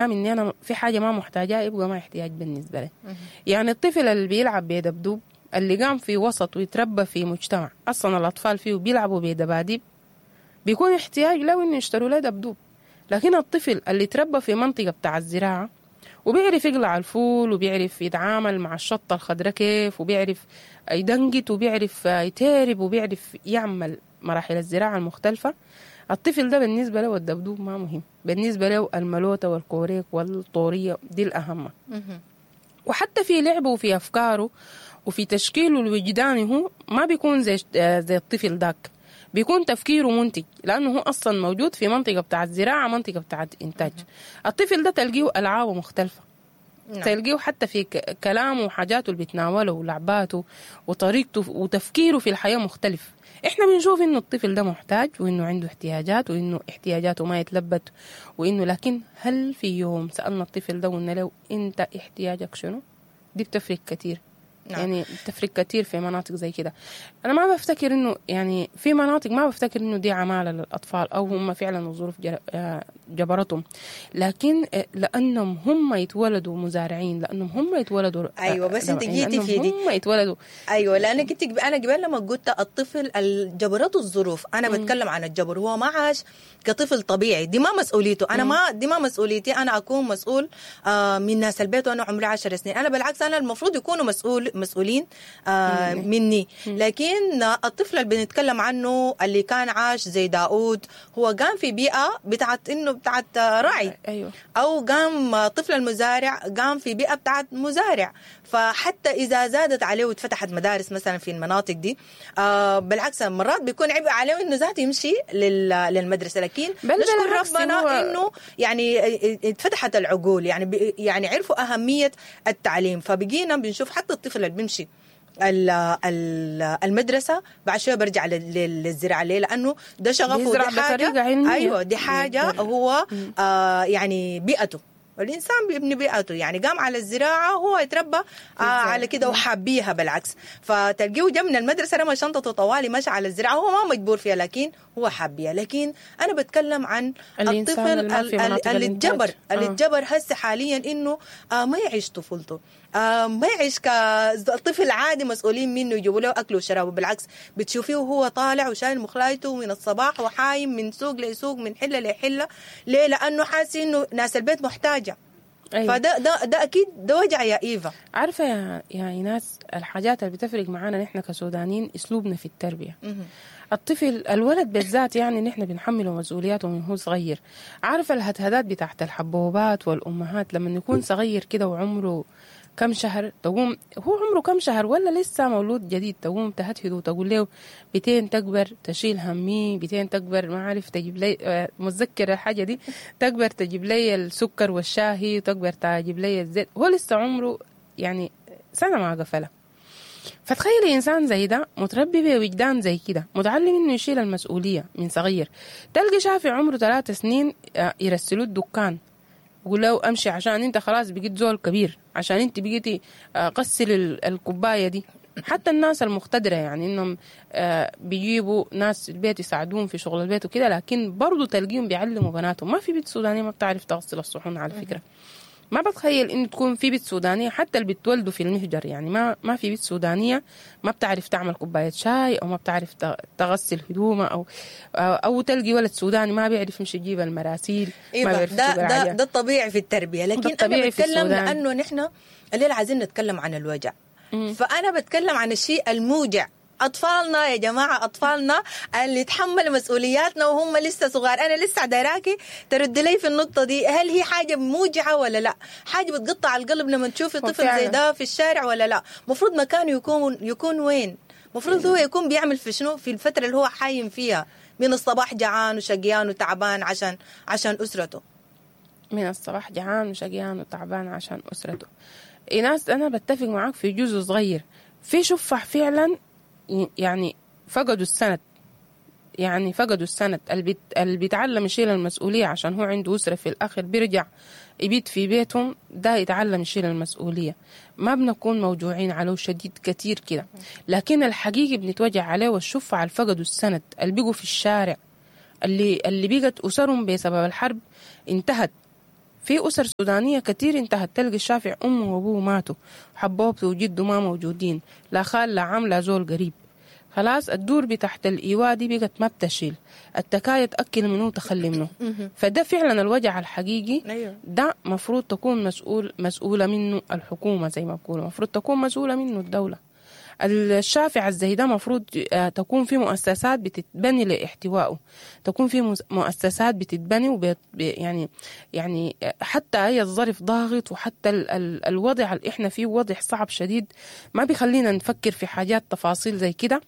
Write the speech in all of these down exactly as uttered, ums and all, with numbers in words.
اني انا في حاجة ما محتاجاها يبقى ما احتياج بالنسبة لي. يعني الطفل اللي بيلعب بدبدوب، اللي قام في وسط ويتربى في مجتمع اصلا الاطفال فيه بيلعبوا بدباديب، بيكون احتياج له انه يشتروا له دبدوب. لكن الطفل اللي تربى في منطقة بتاع الزراعة وبيعرف يقلع الفول وبيعرف يتعامل مع الشطه الخضراء كيف، وبيعرف يدنقت وبيعرف يتهرب وبيعرف يعمل مراحل الزراعة المختلفة، الطفل ده بالنسبة له الدبدوب ما مهم، بالنسبة له الملوته والكوريك والطوريه دي الاهم. وحتى في لعبه وفي افكاره وفي تشكيله الوجداني هو ما بيكون زي زي الطفل داك، بيكون تفكيره منتج لانه هو اصلا موجود في منطقة بتاعت زراعة، منطقة بتاعت انتاج. الطفل ده تلقيه العابه مختلفة. نعم. تلقيه حتى في كلامه وحاجاته اللي بيتناوله ولعباته وطريقته وتفكيره في الحياة مختلف. احنا بنشوف انه الطفل ده محتاج وانه عنده احتياجات وانه احتياجاته ما يتلبت وانه، لكن هل في يوم سالنا الطفل ده وقلنا له انت احتياجك شنو؟ دي بتفرق كتير. نعم. يعني بتفرق كتير في مناطق زي كده. انا ما بفتكر انه يعني في مناطق ما بفتكر انه دي عماله للاطفال او هم فعلا الظروف جبرتهم، لكن لانهم هم يتولدوا مزارعين، لانهم هم يتولدوا. ايوه بس انت جيتي في دي، هم يتولدوا. ايوه لانك انت انا قبل لما قلت الطفل جبرته الظروف، انا مم. بتكلم عن الجبر، هو ما عاش كطفل طبيعي، دي ما مسؤوليته. انا ما دي ما مسؤوليتي انا اكون مسؤول آه من ناس البيت وانا عمري عشر سنين. انا بالعكس انا المفروض يكونوا مسؤول مسؤولين آه مني. لكن الطفل اللي بنتكلم عنه اللي كان عاش زي داود، هو قام في بيئة بتاعت انه بتاعت راعي. أيوه. او قام طفل المزارع قام في بيئة بتاعت مزارع. فحتى اذا زادت عليه واتفتحت مدارس مثلا في المناطق دي آه بالعكس مرات بيكون عبء عليه انه ذاته يمشي للمدرسة. لكن نشكر ربنا انه يعني اتفتحت العقول، يعني يعني عرفوا اهمية التعليم، فبقينا بنشوف حتى الطفل اللي بيمشي المدرسة بعد شوية برجع للزراعة. ليه؟ لانه ده شغفه، دي حاجة. ايوه دي حاجة هو آه يعني بيئته، والإنسان بيبني بيئته، يعني قام على الزراعة هو يتربى آه على كده وحابيها بالعكس. فتلقيه جا من المدرسة رمى شنطته طوالي مشى على الزراعة، هو ما مجبور فيها لكن هو حابيها. لكن أنا بتكلم عن الطفل اللي اتجبر اللي اتجبر هسه حاليا إنه آه ما يعيش طفولته، آه ما يعيش كطفل عادي مسؤولين منه يجيبوا له أكله وشرابه. بالعكس بتشوفيه وهو طالع وشايل مخلايته من الصباح وحايم من سوق لسوق من حلة لحلة. ليه؟ لأنه حاسس إنه ناس البيت محتاجة. أيوة. فده ده ده اكيد ده وجع يا ايفا. عارفه يا يا ايناس، الحاجات اللي بتفرق معانا نحن كسودانيين اسلوبنا في التربية. مه. الطفل الولد بالذات يعني نحن بنحمله مسؤولياته من هو صغير. عارفه الهدهدات بتاعت الحبوبات والامهات لما يكون صغير كده وعمره كم شهر، تقوم هو عمره كم شهر ولا لسه مولود جديد، تقوم تهدهده وتقول له بتين تكبر تشيل همي، بتين تكبر ما عارف تجيب لي، متذكرة الحاجة دي، تكبر تجيب لي السكر والشاهي، تكبر تجيب لي الزيت. هو لسه عمره يعني سنة ما قفلها. فتخيلي إنسان زي ده متربي بوجدان زي كده، متعلم إنه يشيل المسؤولية من صغير. تلقي شافي عمره ثلاث سنين يرسلوه الدكان، يقول له امشي عشان انت خلاص بقيت زول كبير، عشان انت بقيتي غسل الكوباية دي. حتى الناس المقتدره يعني انهم بيجيبوا ناس البيت يساعدوهم في شغل البيت وكده، لكن برضو تلقيهم بيعلموا بناتهم. ما في بيت سوداني ما بتعرف تغسل الصحون على فكرة. ما بتخيل انه تكون في بيت سودانيه حتى اللي بتولدوا في المهجر، يعني ما ما في بيت سودانيه ما بتعرف تعمل كوباية شاي او ما بتعرف تغسل هدومها، او او تلقي ولد سوداني ما بيعرف يمشي يجيب المراسيل. إيه ما بيعرف. ده ده, ده الطبيعي في التربية. لكن انا بتكلم لانه نحن الليلة عايزين نتكلم عن الوجع. مم. فانا بتكلم عن الشيء الموجع. أطفالنا يا جماعة، أطفالنا اللي تحملوا مسؤولياتنا وهم لسه صغار. أنا لسه دايراكي ترد لي في النقطة دي، هل هي حاجة موجعة ولا لا؟ حاجة بتقطع القلب لما تشوفي طفل زي ده في الشارع ولا لا؟ مفروض مكانه يكون يكون وين؟ مفروض هو يكون بيعمل في شنو في الفترة اللي هو حايم فيها من الصباح، جعان وشقيان وتعبان عشان عشان أسرته. من الصباح جعان وشقيان وتعبان عشان أسرته. إيناس أنا بتفق معاك في جزء صغير في شفح فعلا يعني فقدوا السند، يعني فقدوا السند. اللي بيتعلم يشيل المسؤولية عشان هو عنده أسرة في الآخر بيرجع يبيت في بيتهم، ده يتعلم يشيل المسؤولية. ما بنكون موجوعين عليه شديد كتير كده، لكن الحقيقي بنتوجع عليه والشفع اللي فقدوا السند، اللي بيقوا في الشارع، اللي اللي بقت أسرهم بسبب الحرب انتهت. في أسر سودانية كتير انتهت، تلقي الشافع أمه وأبوه ماتوا، حبوبته وجده ما موجودين، لا خال لا عم لا زول قريب. خلاص الدور بتاعت الإيواء دي بقت ما بتشيل، التكاية تأكل منه وتخلي منه. فده فعلا الوجع الحقيقي. ده مفروض تكون مسؤول مسؤولة منه الحكومة، زي ما بقولوا مفروض تكون مسؤولة منه الدولة. الشافع الزي ده مفروض تكون في مؤسسات بتتبني لاحتوائه، تكون في مؤسسات بتتبني وبيت يعني يعني حتى اي الظرف ضاغط، وحتى ال ال الوضع اللي احنا فيه وضع صعب شديد، ما بيخلينا نفكر في حاجات تفاصيل زي كده.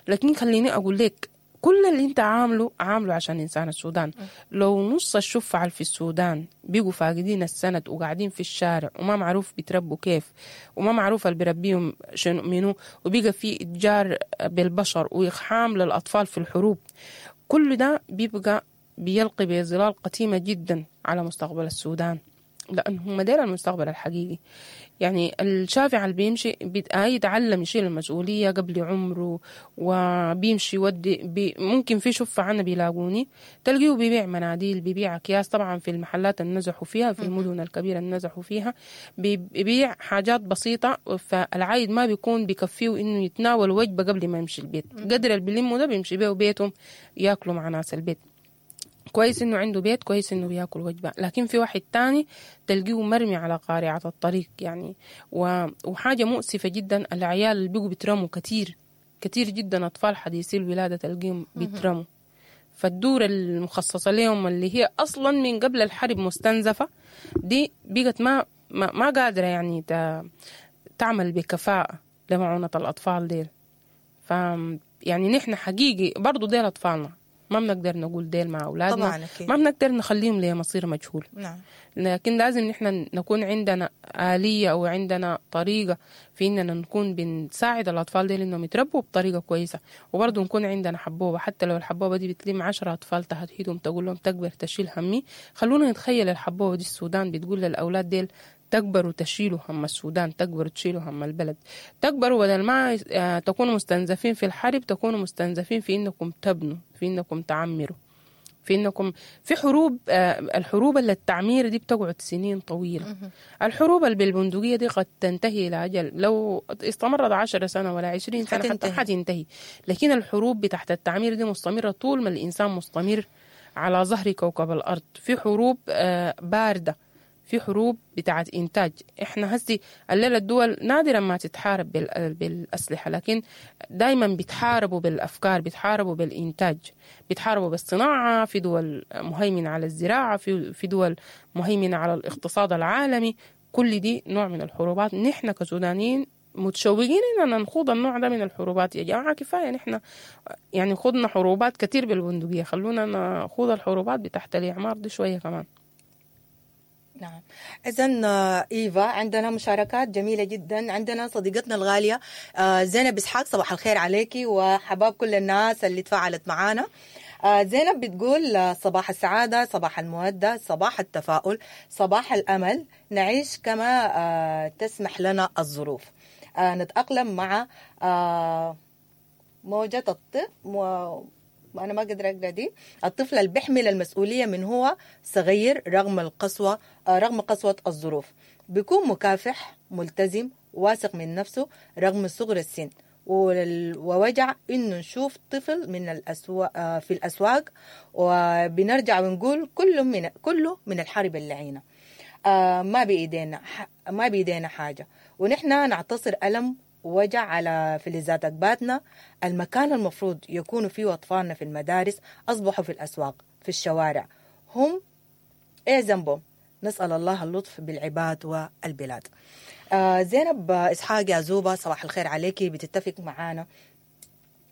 لكن خليني اقول لك كل اللي انت عامله عامله عشان انسان السودان. لو نص الشفع في السودان بيجوا فاقدين السند وقاعدين في الشارع وما معروف بيتربوا كيف وما معروف اللي بيربيهم شنو منو، وبيجي في اتجار بالبشر واقحام للاطفال في الحروب، كل ده بيبقى بيلقي بظلال قتيمة جدا على مستقبل السودان، لأنه هم دير المستقبل الحقيقي. يعني الشافع اللي بيمشي يتعلم يشيل المسؤولية قبل عمره وبيمشي يودي بي ممكن في شفة عنا بيلاقوني تلقيه بيبيع مناديل، بيبيع أكياس، طبعا في المحلات اللي نزحوا فيها في المدن الكبيرة اللي نزحوا فيها بيبيع حاجات بسيطة، فالعايد ما بيكون بيكفيه إنه يتناول وجبة قبل ما يمشي البيت، قدر اللي بيلمه ده بيمشي بيه بيتهم ياكلوا مع ناس البيت. كويس انه عنده بيت، كويس انه بياكل وجبة، لكن في واحد تاني تلقيه مرمي على قارعة الطريق يعني. وحاجه مؤسفة جدا، العيال اللي بيجوا بيترموا كتير كتير جدا، اطفال حديثي الولادة تلقيهم بيترموا. فالدور المخصصة لهم اللي هي اصلا من قبل الحرب مستنزفه دي بقت ما ما, ما قادرة يعني تعمل بكفاءة لمعونه الاطفال ديل. ف يعني نحن حقيقي برضو ديل اطفالنا، ما بنقدر نقول ديل مع أولادنا طبعاً، ما بنقدر نخليهم لمصير مجهول. نعم. لكن لازم نحن نكون عندنا آلية أو عندنا طريقة في إننا نكون بنساعد الأطفال ديل إنهم يتربوا بطريقة كويسة، وبرضه نكون عندنا حبوبة، حتى لو الحبوبة دي بتلم عشرة أطفال تهديدهم تقول لهم تكبر تشيل همي. خلونا نتخيل الحبوبة دي السودان بتقول للأولاد ديل تكبروا تشيلوا هم السودان، تكبروا تشيلوا هم البلد، تكبروا بدل ما تكونوا مستنزفين في الحرب تكونوا مستنزفين في إنكم تبنوا، في إنكم تعمروا، في إنكم في حروب. الحروب اللي التعمير دي بتقعد سنين طويلة، الحروب اللي بالبندقية دي قد تنتهي إلى أجل، لو استمرت عشر سنة ولا عشرين سنة حتى حتنتهي، لكن الحروب بتاعت التعمير دي مستمرة طول ما الإنسان مستمر على ظهر كوكب الأرض. في حروب باردة، في حروب بتاعت إنتاج. إحنا هسي الليلة الدول نادرا ما تتحارب بالأسلحة، لكن دايما بيتحاربوا بالأفكار، بيتحاربوا بالإنتاج، بيتحاربوا بالصناعة. في دول مهيمنة على الزراعة، في في دول مهيمنة على الاقتصاد العالمي. كل دي نوع من الحروبات. نحن كسودانيين متشوقين إننا نخوض النوع ده من الحروبات. يا جماعة كفاية، نحن يعني خضنا حروبات كتير بالبندقية، خلونا نخوض الحروبات بتاعت الإعمار دي شوية كمان. نعم. إذن إيفا عندنا مشاركات جميلة جدا. عندنا صديقتنا الغالية زينب إسحاق، صباح الخير عليكي وحباب كل الناس اللي تفاعلت معانا. زينب بتقول صباح السعادة، صباح المودة، صباح التفاؤل، صباح الأمل، نعيش كما تسمح لنا الظروف، نتأقلم مع موجة الطب و... أنا ما قدر أقرأ دي. الطفل اللي بيحمل المسؤولية من هو صغير رغم القسوة، رغم قسوة الظروف، بيكون مكافح، ملتزم، واثق من نفسه رغم صغر السن، ووجع إنه نشوف طفل من الأسواق في الأسواق، وبنرجع ونقول كله من كله من الحرب اللعينة، ما بإيدينا ما بإيدينا حاجة، ونحن نعتصر ألم وجع على فلذات أكباتنا. المكان المفروض يكونوا فيه أطفالنا في المدارس أصبحوا في الأسواق، في الشوارع. هم إيه ذنبهم؟ نسأل الله اللطف بالعباد والبلاد. آه زينب إسحاق يا زوبة، صباح الخير عليكي. بتتفق معانا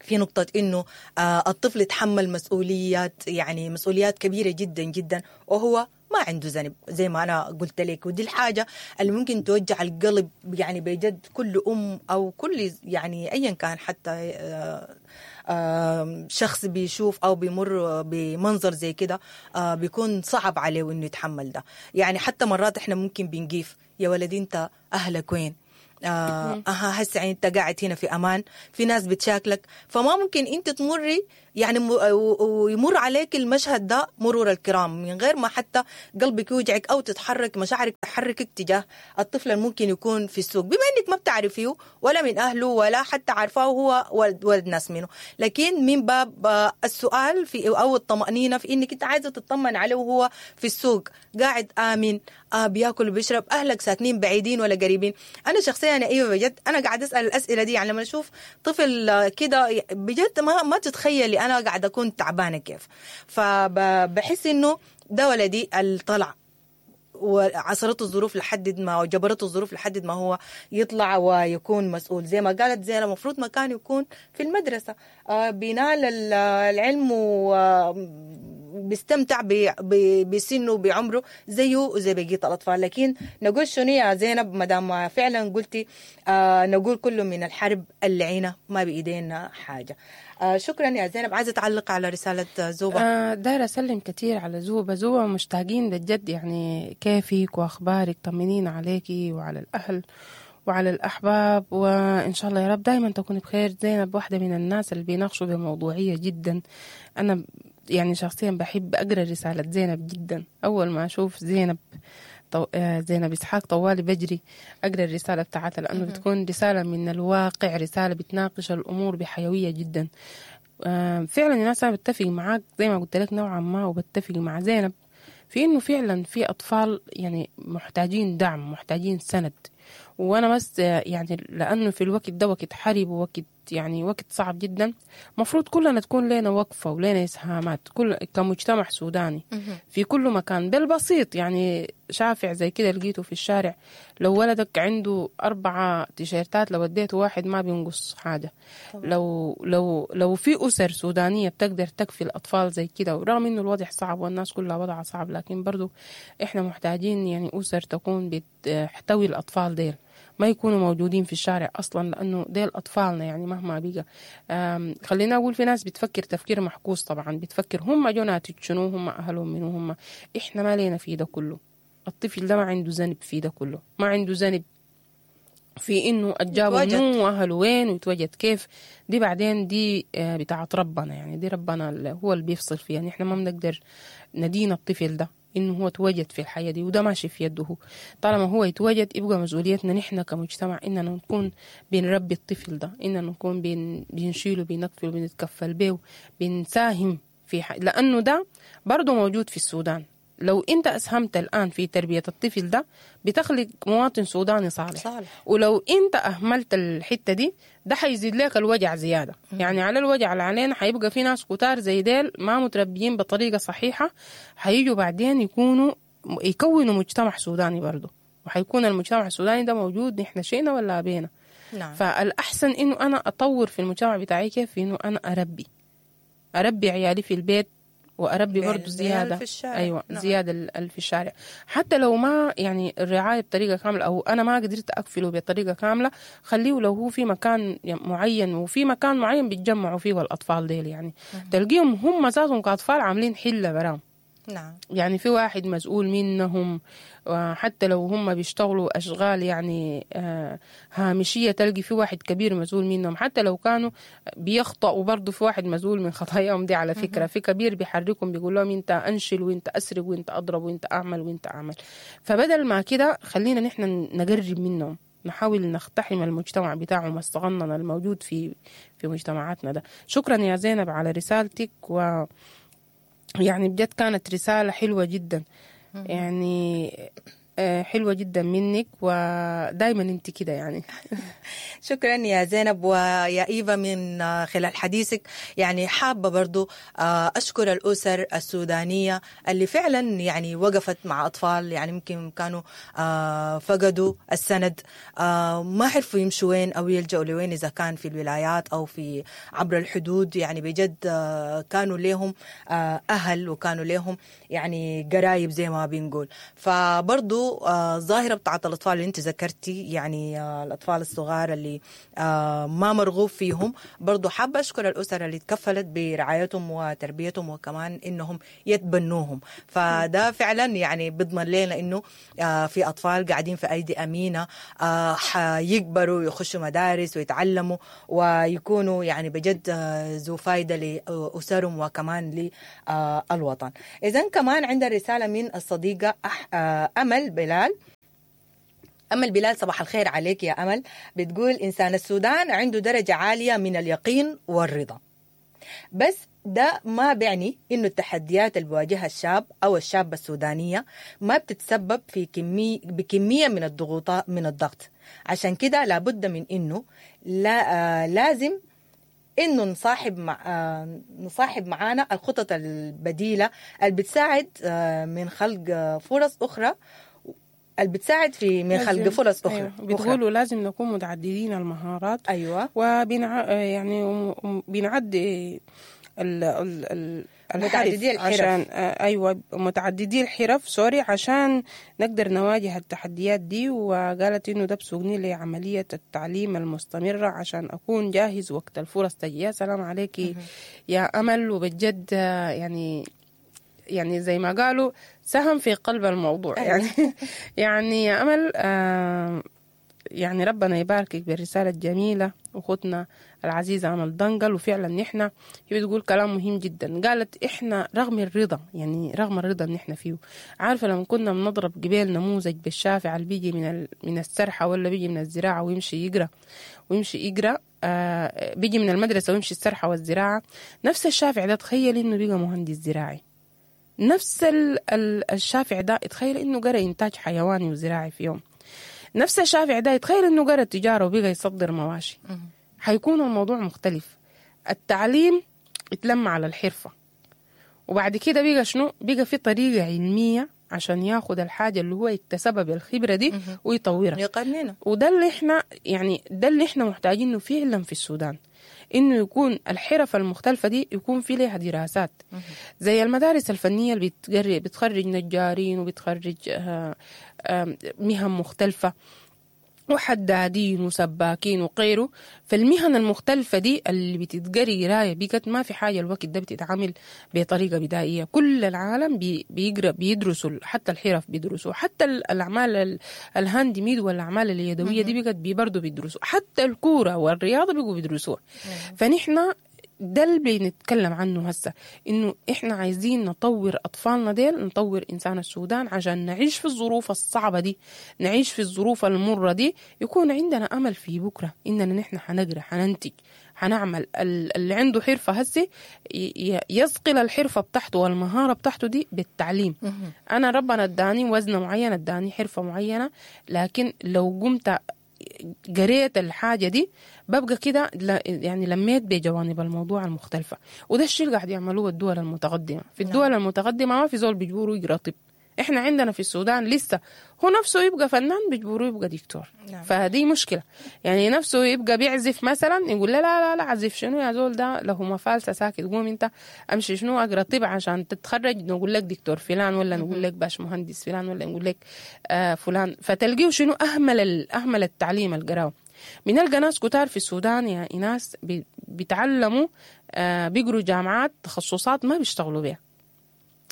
في نقطة إنه آه الطفل يتحمل مسؤوليات، يعني مسؤوليات كبيرة جدا جدا، وهو ما عنده ذنب زي ما أنا قلت لك. ودي الحاجة اللي ممكن توجع القلب يعني بجد كل أم أو كل يعني أيا كان، حتى شخص بيشوف أو بيمر بمنظر زي كده بيكون صعب عليه إنه يتحمل ده. يعني حتى مرات إحنا ممكن بنجيف يا ولدي أنت أهلك وين؟ آه أها هسه انت قاعد هنا في امان، في ناس بتشاكلك، فما ممكن انت تمري يعني ويمر عليك المشهد ده مرور الكرام من غير ما حتى قلبك يوجعك او تتحرك مشاعرك تحركك تجاه الطفل الممكن يكون في السوق، بما انك ما بتعرفيه ولا من اهله ولا حتى عارفاه هو ولد, ولد ناس منه، لكن من باب السؤال في او الطمأنينة في انك انت عايزه تطمن عليه وهو في السوق قاعد امن، آه بياكل وبيشرب، اهلك ساكنين بعيدين ولا قريبين. انا شخصيا انا ايوه بجد انا قاعده اسال الاسئلة دي، يعني لما اشوف طفل كده بجد ما ما تتخيلي انا قاعدة اكون تعبانة كيف. فبحس انه ده ولدي اللي طلع وعصرته الظروف لحد ما وجبرته الظروف لحد ما هو يطلع ويكون مسؤول. زي ما قالت زينة المفروض ما كان يكون في المدرسة، آه بينال العلم وبيستمتع بسنة وبعمره زيه وزي بقية الأطفال. لكن نقول شنو يا زينب مدام فعلا قلتي آه نقول كله من الحرب اللعينة ما بإيدينا حاجة. آه شكرا يا زينب. عايزة تعلق على رسالة زوبة؟ آه دايرة أسلم كتير على زوبة. زوبة مشتاقين بجد، يعني كيفك وأخبارك، طمنين عليكي وعلى الأهل وعلى الأحباب، وإن شاء الله يا رب دايما تكوني بخير. زينب واحدة من الناس اللي بيناقشوا بموضوعية جدا. أنا يعني شخصيا بحب أقرأ رسالة زينب جدا. أول ما أشوف زينب طو... زينب إسحاق طوالي بجري أقرأ الرسالة بتاعتها، لأنه بتكون رسالة من الواقع، رسالة بتناقش الأمور بحيوية جدا. فعلا الناس أنا بتفق معاك زي ما قلت لك نوعا ما، وبتفق مع زينب في إنه فعلا في أطفال يعني محتاجين دعم، محتاجين سند. وأنا بس يعني لأنه في الوقت ده وقت حرب ووقت يعني وقت صعب جدا، مفروض كلنا تكون لنا وقفة ولنا إسهامات كل كمجتمع سوداني في كل مكان بالبسيط. يعني شافع زي كده لقيته في الشارع، لو ولدك عنده أربعة تيشيرتات لو اديته واحد ما بينقص حاجة. طبعا. لو لو لو في أسر سودانية بتقدر تكفي الأطفال زي كده، ورغم إنه الوضع صعب والناس كلها وضعها صعب، لكن برضو إحنا محتاجين يعني أسر تكون بتحتوي الأطفال ديل، ما يكونوا موجودين في الشارع أصلا، لأنه ديل أطفالنا يعني مهما بقى. خلينا أقول في ناس بتفكر تفكير محكوس طبعا، بتفكر هم جو ناتج شنو، هم أهلهم منو، هم إحنا ما لينا في ده كله. الطفل ده ما عنده ذنب في ده كله، ما عنده ذنب في إنه أجابوا منو وأهله وين ويتوجد كيف. دي بعدين دي بتاعت ربنا، يعني دي ربنا هو اللي بيفصل فيها. يعني إحنا ما بنقدر ندين الطفل ده إنه هو توجد في الحياة دي، وده ماشي في يده. طالما هو يتوجد يبقى مسؤوليتنا نحن كمجتمع إننا نكون بنربي الطفل ده، إننا نكون بن بنشيله بنكفله بنتكفل به بنساهم في ح... لأنه ده برضه موجود في السودان. لو أنت أسهمت الآن في تربية الطفل ده بتخلق مواطن سوداني صالح. صالح. ولو أنت أهملت الحتة دي ده حيزيد لك الوجع زيادة. م. يعني على الوجع اللي علينا حيبقى في ناس كتار زي ديل ما متربيين بطريقة صحيحة، حيجوا بعدين يكونوا يكونوا مجتمع سوداني برضو، وحيكون المجتمع السوداني ده موجود نحن شئنا ولا أبينا. نعم. فالأحسن إنه أنا أطور في المجتمع بتاعي كيف إنه أنا أربي أربي عيالي في البيت، وأربي برضو زيادة في الشارع. أيوة. نعم. زيادة في الشارع، حتى لو ما يعني الرعاية بطريقة كاملة أو أنا ما قدرت أكفله بطريقة كاملة، خليه لو هو في مكان معين، وفي مكان معين بيتجمعوا فيه الأطفال ديل، يعني تلقيهم هم ذاتهم كأطفال عاملين حلة براهم. نعم. يعني في واحد مسؤول منهم، وحتى لو هم بيشتغلوا أشغال يعني هامشية تلقي في واحد كبير مسؤول منهم، حتى لو كانوا بيخطئوا برضو في واحد مسؤول من خطاياهم دي. على فكرة في كبير بيحركهم بيقول لهم انت أنشل وانت أسرق وانت أضرب وانت أعمل وانت أعمل. فبدل ما كده خلينا نحن نقرب منهم، نحاول نقتحم المجتمع بتاعهم الصغنن الموجود في في مجتمعاتنا ده. شكرا يا زينب على رسالتك، و يعني بجد كانت رسالة حلوة جدا، يعني حلوة جدا منك، ودايما انت كده يعني. شكرا يا زينب ويا إيفا من خلال حديثك. يعني حابة برضو أشكر الأسر السودانية اللي فعلا يعني وقفت مع أطفال يعني ممكن كانوا فقدوا السند، ما عرفوا يمشوا وين أو يلجأوا لوين إذا كان في الولايات أو في عبر الحدود. يعني بجد كانوا لهم أهل وكانوا لهم يعني قرايب زي ما بنقول. فبرضو برضو آه الظاهرة بتاعت الأطفال اللي أنت ذكرتي، يعني آه الأطفال الصغار اللي آه ما مرغوب فيهم، برضو حابة أشكر الأسر اللي تكفلت برعايتهم وتربيتهم وكمان إنهم يتبنوهم. فده فعلا يعني بيضمن لنا إنه آه في أطفال قاعدين في أيدي أمينة، آه حيكبروا ويخشوا مدارس ويتعلموا ويكونوا يعني بجد آه ذو فايدة لأسرهم وكمان للوطن. إذن كمان عندنا رسالة من الصديقة أح... أمل بلال. أمل بلال صباح الخير عليك يا أمل. بتقول إنسان السودان عنده درجة عالية من اليقين والرضا، بس ده ما بيعني إنه التحديات اللي بيواجهها الشاب أو الشابة السودانية ما بتتسبب في كمية بكمية من الضغوطات من الضغط. عشان كده لابد من إنه لا آه لازم إنه نصاحب مع آه نصاحب معانا الخطط البديلة اللي بتساعد آه من خلق فرص أخرى، اللي بتساعد في من خلق فرص أخرى. أيوة. بتقولوا لازم نكون متعددين المهارات. أيوة. وبنع يعني بنعدي ال ال متعددي الحرف عشان أيوة متعددي الحرف سوري عشان نقدر نواجه التحديات دي. وقالت إنه ده بسوقني لعملية التعليم المستمرة عشان أكون جاهز وقت الفرص تجي. يا سلام عليكي يا أمل، وبجد يعني يعني زي ما قالوا سهم في قلب الموضوع. يعني يعني يا أمل آه يعني ربنا يباركك بالرسالة الجميلة أختنا العزيزة أمل دنقل. وفعلا نحن هي بتقول كلام مهم جدا، قالت إحنا رغم الرضا، يعني رغم الرضا اللي نحن فيه، عارفة لما كنا بنضرب قبيل نموذج بالشافع اللي بيجي من من السرحة ولا بيجي من الزراعة ويمشي يقرأ ويمشي يقرأ آه بيجي من المدرسة ويمشي السرحة والزراعة، نفس الشافع ده تخيل إنه بيجي مهندس زراعي، نفس ال الشافع ده تخيل إنه قرأ إنتاج حيواني وزراعي في يوم، نفس الشافع ده يتخيل إنه قرأ التجارة وبقى يصدر مواشي. حيكون الموضوع مختلف. التعليم اتلم على الحرفة، وبعد كده بقى شنو؟ بقى في طريقة علمية عشان ياخد الحاجة اللي هو اكتسبها بالخبرة دي ويطورها يقننها. وده اللي احنا يعني ده اللي احنا محتاجينه فعلا في السودان، انه يكون الحرف المختلفة دي يكون في لها دراسات زي المدارس الفنية اللي بتخرج نجارين وبتخرج مهن مختلفة وحدادين وسباكين وغيره. فالمهن المختلفة دي اللي بتتقري قراية بقت ما في حاجة الوقت ده بتتعامل بطريقة بدائية. كل العالم بي بيقرأ بيدرسوا، حتى الحرف بيدرسوا، حتى الأعمال ال handmade والأعمال اليدوية دي بقت برضو بيدرسوا، حتى الكورة والرياضة بيقوا بيدرسوها. فنحن ده اللي بنتكلم عنه هسه، إنه إحنا عايزين نطور أطفالنا ديل، نطور إنسان السودان عشان نعيش في الظروف الصعبة دي، نعيش في الظروف المرة دي، يكون عندنا أمل في بكرة إننا نحن حنقرأ، حننتج، حنعمل. اللي عنده حرفة هسه يصقل الحرفة بتاعته والمهارة بتاعته دي بالتعليم. أنا ربنا اداني وزنة معينة، اداني حرفة معينة، لكن لو قمت قريت الحاجة دي ببقى كده يعني لميت بجوانب الموضوع المختلفة. وده الشيء اللي قاعد يعملوه الدول المتقدمة. في الدول المتقدمة ما في زول بيجبروه يقرأ طب، احنا عندنا في السودان لسه هو نفسه يبقى فنان بيجبروه يبقى دكتور. نعم. فهذه مشكلة. يعني نفسه يبقى بيعزف مثلا، يقول لا لا لا عزف شنو يا زول، ده له مفالسة ساكت، قوم انت امشي شنو اقرا طب عشان تتخرج نقول لك دكتور فلان، ولا نقول لك باش مهندس فلان، ولا نقول لك آه فلان. فتلقيه شنو اهمل اهمل التعليم القراوه. بنلقى ناس كتار في السودان يا إناس بيتعلموا آه بيقروا جامعات تخصصات ما بيشتغلوا بيها،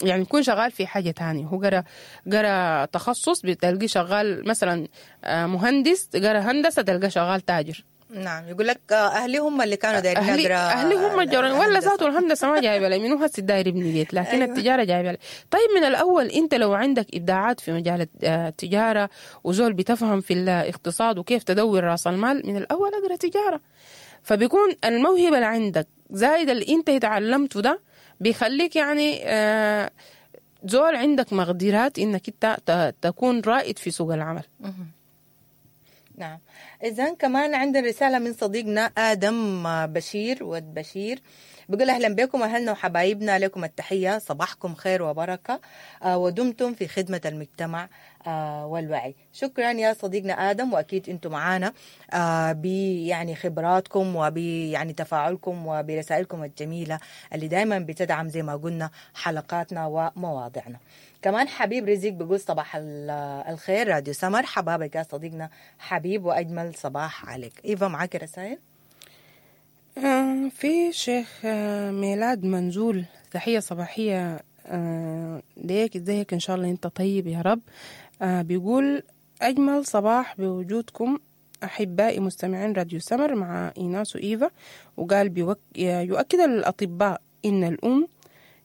يعني يكون شغال في حاجة تانية، هو قرأ قرأ تخصص بتلقيه شغال مثلا مهندس، قرأ هندسة تلقاه شغال تاجر. نعم، يقول لك أهلي هم اللي كانوا دايرين أهلي, أهلي هم الجورين، ولا ذاته الهندسة ما جايبة لي منو هسه داير ابني بيت، لكن أيوة. التجارة جايبة لي. طيب من الأول أنت لو عندك إبداعات في مجال التجارة وزول بتفهم في الاقتصاد وكيف تدور راس المال، من الأول أقرأ تجارة. فبيكون الموهبة اللي عندك زايد اللي أنت اتعلمته ده بيخليك يعني آه زول عندك مقدرات انك انت تكون رائد في سوق العمل. نعم. اذا كمان عندنا رسالة من صديقنا ادم بشير ود بشير، بيقول اهلا بكم اهلنا وحبايبنا، لكم التحية، صباحكم خير وبركة، ودمتم في خدمة المجتمع. آه والوعي. شكرا يا صديقنا آدم، وأكيد أنتم معانا آه ب يعني خبراتكم وب يعني تفاعلكم وبرسائلكم الجميلة اللي دائما بتدعم زي ما قلنا حلقاتنا ومواضيعنا. كمان حبيب رزق بيقول صباح الخير راديو سمر، حبابك يا صديقنا حبيب وأجمل صباح عليك. إيفا معاك رسائل؟ آه في شيخ آه ميلاد منزول، تحية صباحية آه ليك، ازيك ان شاء الله انت طيب يا رب. آه بيقول أجمل صباح بوجودكم أحبائي مستمعين راديو سمر مع إيناس وإيفا. وقال بيوك... يؤكد الأطباء إن الأم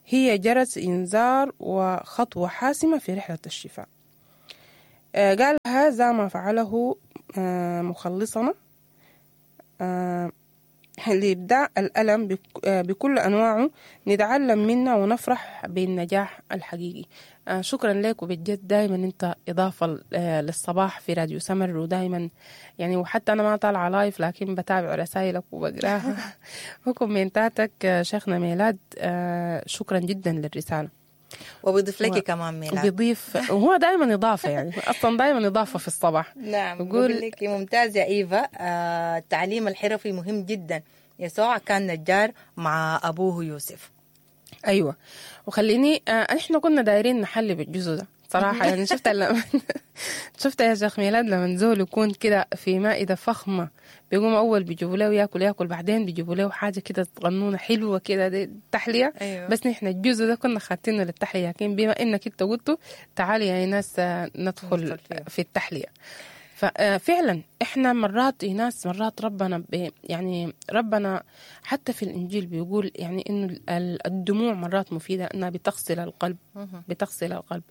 هي جرس إنذار وخطوة حاسمة في رحلة الشفاء. آه قال هذا ما فعله آه مخلصنا آه لإبداع الألم بكل أنواعه، نتعلم منه ونفرح بالنجاح الحقيقي. آه شكرا لك، وبجد دايما أنت إضافة للصباح في راديو سمر، ودايما يعني وحتى أنا ما طالعة live لكن بتابع رسائلك وبقراها وكومنتاتك. شيخنا ميلاد آه شكرا جدا للرسالة. وبيضيف لك و... كمان ميلاد، بيضيف، وهو دائما إضافة يعني أصلا دائما إضافة في الصباح. نعم بقول لك ممتاز يا إيفا. آه التعليم الحرفي مهم جدا، يسوع كان نجار مع أبوه يوسف. أيوة، وخليني آه إحنا كنا دايرين نحل بالجزء ده صراحة يعني شفت لما شفت يا شيخ ميلاد لما زول يكون كده في مائدة فخمة، بيقوم أول بيجيبوا له ياكل ياكل، بعدين بيجيبوا له حاجة كده صغنونة حلوة كده دي تحلية. أيوة. بس نحن الجزء ده كنا خاتينه للتحلية، لكن بما إنك أنت قلته تعالي يا ناس ندخل في التحلية. ففعلا احنا مرات ناس مرات ربنا يعني ربنا حتى في الانجيل بيقول يعني انه الدموع مرات مفيدة، انها بتغسل القلب، بتغسل القلب.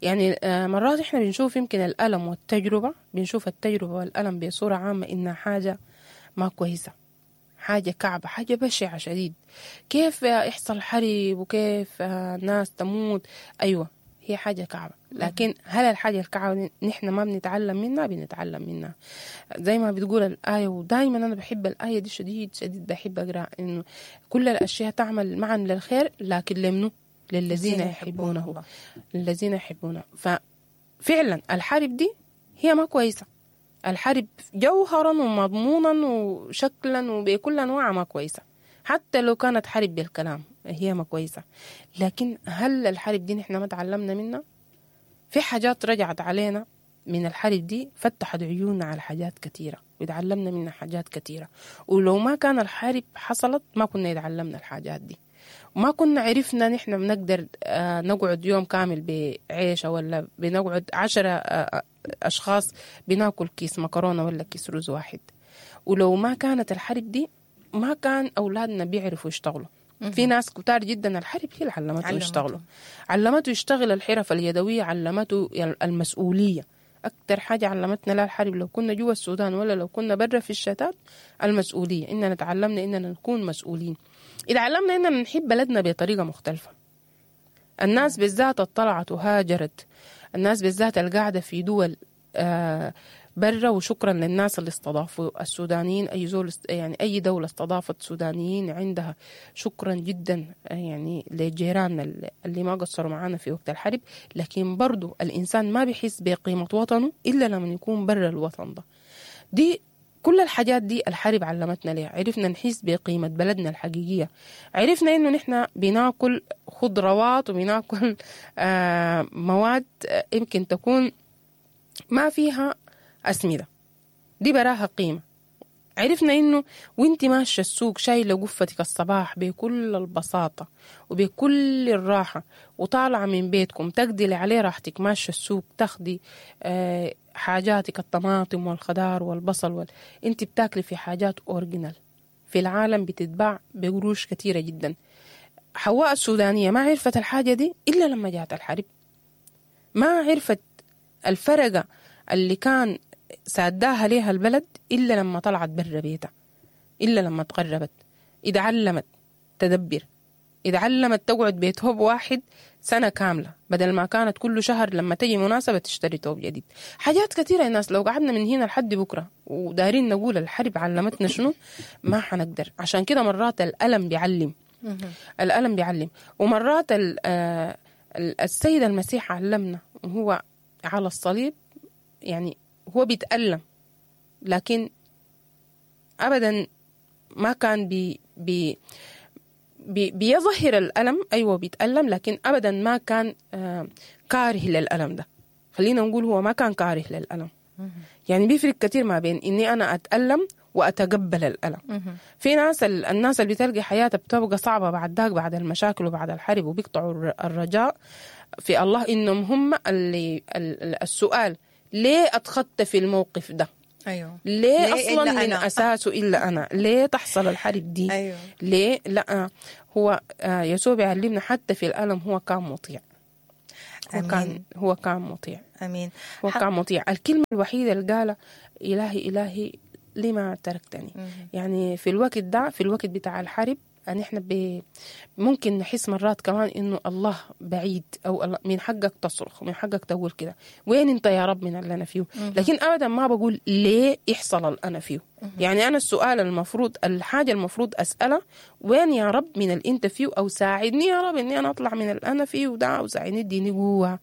يعني مرات احنا بنشوف يمكن الالم والتجربة، بنشوف التجربة والالم بصورة عامة انها حاجة ما كويسة، حاجة كعبه، حاجة بشعة شديد. كيف يحصل حرب وكيف ناس تموت؟ ايوه هي حاجة كعبة، لكن هل الحاجة الكعبة نحن ما بنتعلم منها؟ بنتعلم منها زي ما بتقول الآية، ودايما أنا بحب الآية دي شديد شديد، بحب أقرأ إنه كل الأشياء تعمل معا للخير، لكن لمنه؟ للذين يحبونه، للذين يحبونه. ففعلا الحرب دي هي ما كويسة، الحرب جوهرا ومضمونا وشكلا وبكل أنواعها ما كويسة، حتى لو كانت حرب بالكلام هي ما كويسة. لكن هل الحرب دي نحن ما تعلمنا منها؟ في حاجات رجعت علينا من الحرب دي، فتحت عيوننا على حاجات كثيرة وتعلمنا منها حاجات كثيرة، ولو ما كان الحرب حصلت ما كنا يتعلمنا الحاجات دي، وما كنا عرفنا نحن بنقدر نقعد يوم كامل بعيشة، ولا بنقعد عشرة أشخاص بناكل كيس مكرونة ولا كيس رز واحد. ولو ما كانت الحرب دي ما كان أولادنا بيعرفوا يشتغلوا. في ناس كتار جدا الحرب هي اللي علمته يشتغلوا، علمته يشتغل الحرف اليدوية، علمته المسؤولية. أكتر حاجة علمتنا لا الحرب لو كنا جوا السودان ولا لو كنا برا في الشتات، المسؤولية، إننا تعلمنا إننا نكون مسؤولين. إذا علمنا إننا نحب بلدنا بطريقة مختلفة. الناس بالذات اطلعت وهاجرت، الناس بالذات القاعدة في دول آه برا، وشكرا للناس اللي استضافوا السودانيين، أي زول يعني أي دولة استضافت سودانيين عندها، شكرا جدا يعني لجيراننا اللي ما قصروا معانا في وقت الحرب. لكن برضو الإنسان ما بيحس بقيمة وطنه إلا لما يكون برا الوطن ده. دي كل الحاجات دي الحرب علمتنا ليها، عرفنا نحس بقيمة بلدنا الحقيقية، عرفنا إنه نحن بناكل خضروات وبناكل آه مواد يمكن تكون ما فيها أسمدة، دي براها قيمة. عرفنا إنه وانت ماشية السوق شايلة قفتك الصباح بكل البساطة وبكل الراحة وطالعة من بيتكم تقدلي عليه راحتك، ماشية السوق تاخدي آه حاجاتك، الطماطم والخضار والبصل وال... انت بتاكلي في حاجات original في العالم بتتباع بقروش كثيرة جدا. حواء السودانية ما عرفت الحاجة دي إلا لما جاءت الحرب، ما عرفت الفرقة اللي كان ساداها ليها البلد إلا لما طلعت برا بيتها، إلا لما تقربت، إذا علمت تدبر، إذا علمت تقعد بيت هوب واحد سنة كاملة بدل ما كانت كل شهر لما تجي مناسبة تشتري توب جديد. حاجات كثيرة الناس لو قعدنا من هنا لحد بكرة ودارين نقول الحرب علمتنا شنو ما حنقدر. عشان كده مرات الألم بيعلم، الألم بيعلم. ومرات السيد المسيح علمنا، وهو على الصليب يعني هو بيتألم، لكن أبدا ما كان بي بي بي بيظهر الألم. أيوة بيتألم، لكن أبدا ما كان آه كاره للألم ده. خلينا نقول هو ما كان كاره للألم. يعني بيفرق كتير ما بين إني أنا أتألم وأتقبل الألم. في ناس، الناس اللي بتلقي حياتها بتبقى صعبة بعد ذاك، بعد المشاكل وبعد الحرب، وبيقطعوا الرجاء في الله، إنهم هم اللي السؤال ليه أتخطى في الموقف ده؟ أيوه. ليه, ليه أصلا من أنا؟ أساسه إلا أنا؟ ليه تحصل الحرب دي؟ أيوه. ليه؟ لا، هو يسوع بيعلمنا حتى في الألم هو كان مطيع. هو كان هو كان مطيع. أمين. هو كان مطيع. الكلمة الوحيدة اللي قالها إلهي إلهي لما تركتني. مم. يعني في الوقت ده، في الوقت بتاع الحرب، يعني احنا ب... ممكن نحس مرات كمان انه الله بعيد، او الله من حقك تصرخ، من حقك تقول كده وين انت يا رب من اللي انا فيه. لكن ابدا ما بقول ليه يحصل اللي انا فيه. مم. يعني انا السؤال المفروض، الحاجة المفروض اسالها، وين يا رب من اللي انت فيه، او ساعدني يا رب اني انا اطلع من اللي انا فيه وده، او ساعدني اديني قوة،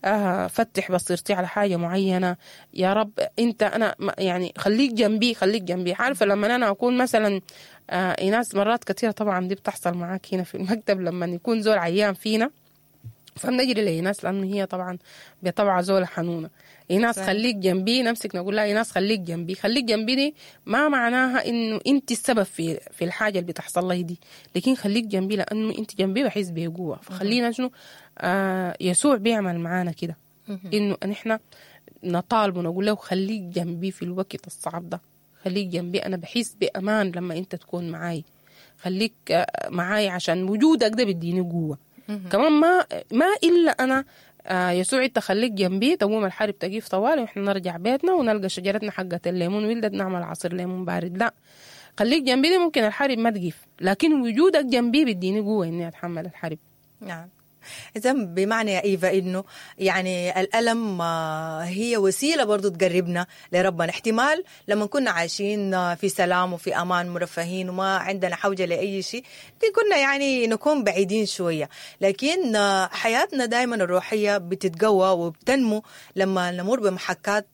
آه فتح بصيرتي على حاجة معينة يا رب انت، انا يعني خليك جنبي، خليك جنبي. عارفة لما انا اكون مثلا آه ناس مرات كثيرة طبعا دي بتحصل معاك هنا في المكتب، لما يكون زول عيان فينا فبنجري لإيناس، لأنه هي طبعا بطبعها زولة حنونة. إيناس خليك جنبي، نمسك نقول لها إيناس خليك جنبي. خليك جنبي دي ما معناها إنه أنت السبب في في الحاجة اللي بتحصل لي دي، لكن خليك جنبي لأنه أنت جنبي بحس بقوة. فخلينا شنو آه يسوع بيعمل معانا كده، إنه نحن نطالبه ونقول له خليك جنبي في الوقت الصعب ده، خليك جنبي، أنا بحس بأمان لما أنت تكون معاي، خليك معاي عشان وجودك ده بيديني قوة. كمان ما ما إلا أنا آه يسوع أنت خليك جنبي، تقوم الحرب تقيف طوالي وإحنا نرجع بيتنا ونلقى شجرتنا حقة الليمون ولدت نعمل عصير ليمون بارد. لا، خليك جنبي دي ممكن الحرب ما تقيف، لكن وجودك جنبي بيديني قوة إني أتحمل الحرب. نعم. إذا بمعنى يا إيفا إنه يعني الألم هي وسيلة برضو تقربنا لربنا. احتمال لما كنا عايشين في سلام وفي أمان مرفهين وما عندنا حوجة لأي شيء كنا يعني نكون بعيدين شوية، لكن حياتنا دايما الروحية بتتقوى وبتنمو لما نمر بمحكات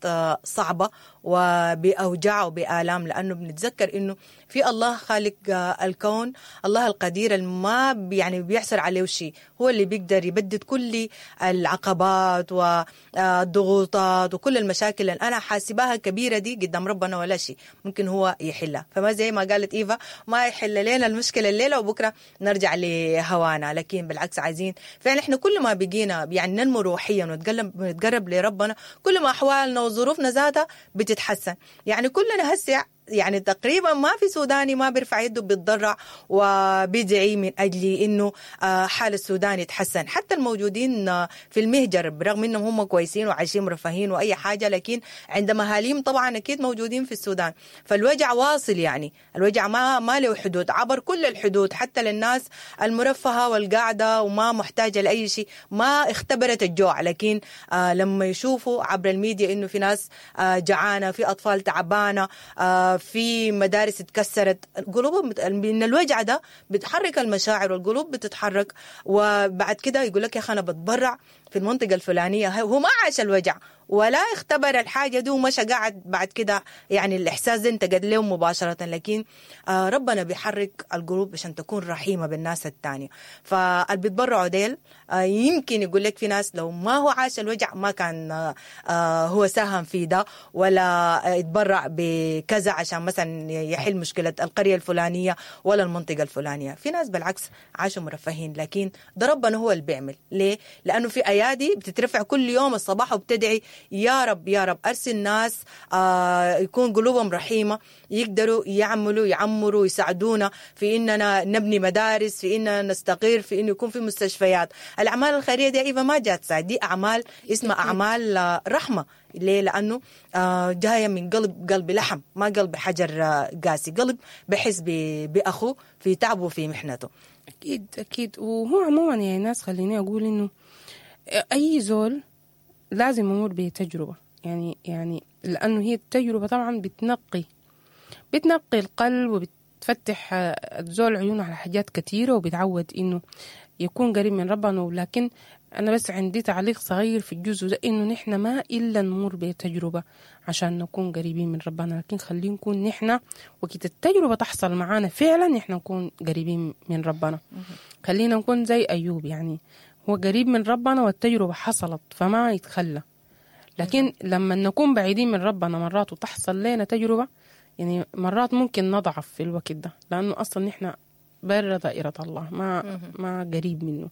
صعبة وبأوجاع وبآلام، لأنه بنتذكر إنه في الله خالق الكون، الله القدير ما يعني بيحصل عليه شيء، هو اللي بيقدر يبدد كل العقبات والضغوطات وكل المشاكل اللي أنا حاسباها كبيرة دي قدام ربنا ولا شيء ممكن هو يحلها. فما زي ما قالت إيفا ما يحل لنا المشكلة الليلة وبكرة نرجع لهوانا، لكن بالعكس عايزين فعلا إحنا كل ما بقينا يعني ننمو روحيا ونتقرب لربنا كل ما أحوالنا وظروفنا ذاتها بتتحسن. يعني كلنا هسه يعني تقريبا ما في سوداني ما بيرفع يده بيتضرع وبيدعي من أجل إنه حال السودان يتحسن. حتى الموجودين في المهجر برغم إنهم هم كويسين وعايشين مرفهين وأي حاجة، لكن عند مهاليم طبعا أكيد موجودين في السودان، فالوجع واصل، يعني الوجع ما ما له حدود، عبر كل الحدود، حتى للناس المرفهة والقاعدة وما محتاجة لأي شيء، ما اختبرت الجوع، لكن لما يشوفوا عبر الميديا إنه في ناس جعانة، في أطفال تعبانة، في مدارس اتكسرت، قلوبهم من الوجع ده بتحرك المشاعر والقلوب بتتحرك. وبعد كده يقول لك يا اخي انا بتبرع في المنطقة الفلانية، هو ما عاش الوجع ولا اختبر الحاجة دي ومشى قاعد بعد كده، يعني الإحساس ده انتقد له مباشرة. لكن ربنا بيحرك القلوب عشان تكون رحيمة بالناس التانية. فاللي بيتبرعوا ديل يمكن يقول لك في ناس لو ما هو عاش الوجع ما كان هو ساهم في ده ولا يتبرع بكذا عشان مثلا يحل مشكلة القرية الفلانية ولا المنطقة الفلانية. في ناس بالعكس عاشوا مرفهين، لكن ده ربنا هو اللي بيعمل. ليه؟ لأنه في أيادي بتترفع كل يوم الصباح وبتدعي يا رب يا رب أرسل ناس آه يكون قلوبهم رحيمة، يقدروا يعملوا يعمروا يساعدونا في إننا نبني مدارس، في إننا نستقر، في إنه يكون في مستشفيات. الأعمال الخيرية دي إيفا ما جات ساعد، دي أعمال اسمها أعمال رحمة. ليه؟ لأنه آه جاية من قلب، قلب لحم، ما قلب حجر قاسي، قلب بحس بأخوه في تعبه وفي محنته. أكيد أكيد. وهو عموما يعني ناس، خليني أقول إنه أي زول لازم يمر بتجربة، يعني يعني لأنه هي التجربة طبعا بتنقي بتنقي القلب وبتفتح الزول عيونه على حاجات كثيرة وبتعود إنه يكون قريب من ربنا. ولكن أنا بس عندي تعليق صغير في الجزء ده، إنه نحن ما إلا نمر بتجربة عشان نكون قريبين من ربنا، لكن خلينا نكون نحن وقت التجربة تحصل معانا فعلا نحن نكون قريبين من ربنا. خلينا نكون زي أيوب، يعني هو قريب من ربنا والتجربة حصلت فما يتخلى. لكن لما نكون بعيدين من ربنا مرات وتحصل لنا تجربة، يعني مرات ممكن نضعف في الوقت ده، لأنه أصلا نحن برا دائرة الله، ما ما قريب منه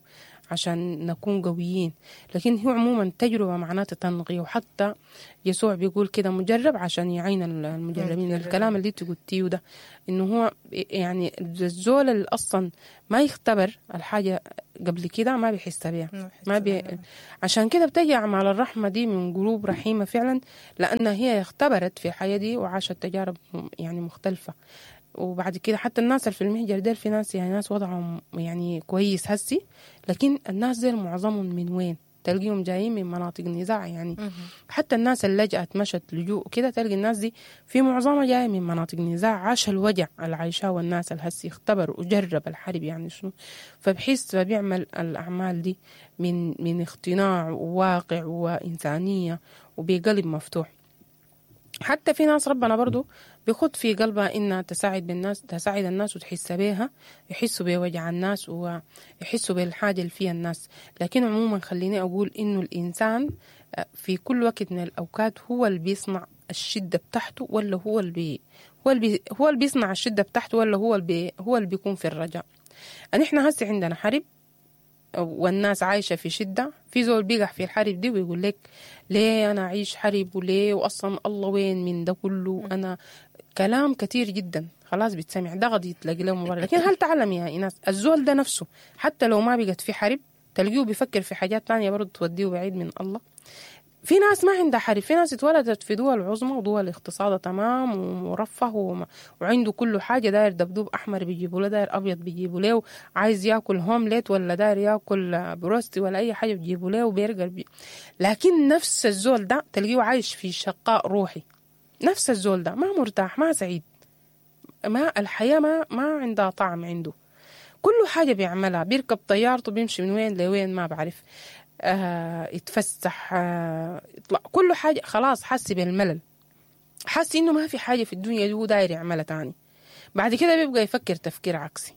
عشان نكون قويين. لكن هو عموما تجربة معناته تنقي، وحتى يسوع بيقول كده مجرب عشان يعين المجربين. الكلام اللي انت قلتيه ده انه هو يعني الزول اللي اصلا ما يختبر الحاجة قبل كده ما بيحس بيها، ما بي... عشان كده بتجي اعمال الرحمة دي من قلوب رحيمة فعلا، لأنها هي اختبرت في الحياة دي وعاشت تجارب يعني مختلفة. وبعد كده حتى الناس اللي في المهجر ديل في ناس يعني ناس وضعهم يعني كويس هسي، لكن الناس ديل معظمهم من وين؟ تلقيهم جايين من مناطق نزاع يعني. حتى الناس اللي لجأت مشت لجوء كده تلقي الناس دي في معظمها جاية من مناطق نزاع، عاش الوجع اللي عايشاه والناس اللي هسي اختبر وجرب الحرب يعني شنو، فبحس فبيعمل الأعمال دي من من اقتناع وواقع وإنسانية وبقلب مفتوح. حتى في ناس ربنا برضو بيخد في قلبها إنها تساعد بالناس، تساعد الناس وتحس بيها، يحسوا بوجع الناس ويحسوا بالحاجة اللي فيها الناس. لكن عموما خليني أقول إنه الإنسان في كل وقت من الأوقات هو اللي بيصنع الشدة بتاعته، ولا هو اللي بي هو اللي بي هو اللي بيصنع الشدة بتاعته، ولا هو اللي بي هو اللي بيكون في الرجاء. نحن هسه عندنا حرب والناس عايشة في شدة، في زول بيقع في الحرب دي ويقول لك ليه أنا أعيش حرب وليه، وأصلا الله وين من ده كله، أنا كلام كتير جدا خلاص بتسمع ده غد يتلاقي له مبرر. لكن هل تعلم يا إيناس الزول ده نفسه حتى لو ما بقت في حرب تلقيه بيفكر في حاجات تانية برضه توديه بعيد من الله. في ناس ما عندها حرب، في ناس اتولدت في دول عظمى ودول اقتصادها تمام ومرفه وما وعنده كل حاجة، داير دبدوب أحمر بيجيبوا له، داير أبيض بيجيبوا له، عايز ياكل هومليت ولا داير ياكل بروستي ولا أي حاجة بيجيبوا له وبرجر بي. لكن نفس الزول ده تلقيه عايش في شقاء روحي، نفس الزول ده ما مرتاح ما سعيد، ما الحياة ما ما عندها طعم عنده، كل حاجة بيعملها بيركب طيارته بيمشي من وين لوين ما بعرف، آه، يتفسح، آه، يطلع، كل حاجة خلاص حاسس بالملل، حاسس إنه ما في حاجة في الدنيا دي هو داير يعملها تاني. بعد كده بيبقى يفكر تفكير عكسي،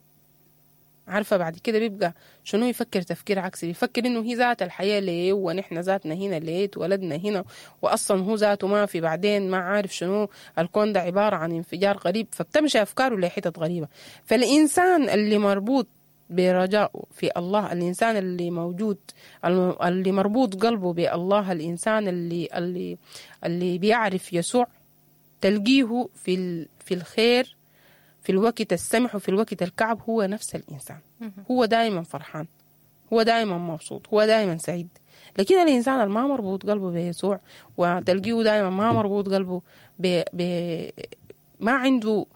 عارفة بعد كده بيبقى شنو يفكر تفكير عكسي؟ بيفكر إنه هي ذات الحياة ليه، ونحن ذاتنا هنا ليه، اتولدنا هنا، وأصلا هو ذاته ما في، بعدين ما عارف شنو الكون ده عبارة عن انفجار غريب، فبتمشي أفكاره لحتت غريبة. فالإنسان اللي مربوط برجاء في الله، الإنسان اللي موجود اللي مربوط قلبه بالله، الإنسان اللي اللي اللي بيعرف يسوع، تلقيه في في الخير في الوقت السمح وفي الوقت الكعب هو نفس الإنسان، هو دائما فرحان، هو دائما مبسوط، هو دائما سعيد. لكن الإنسان اللي ما مربوط قلبه بيسوع وتلقيه دائما ما مربوط قلبه ب ب ما عنده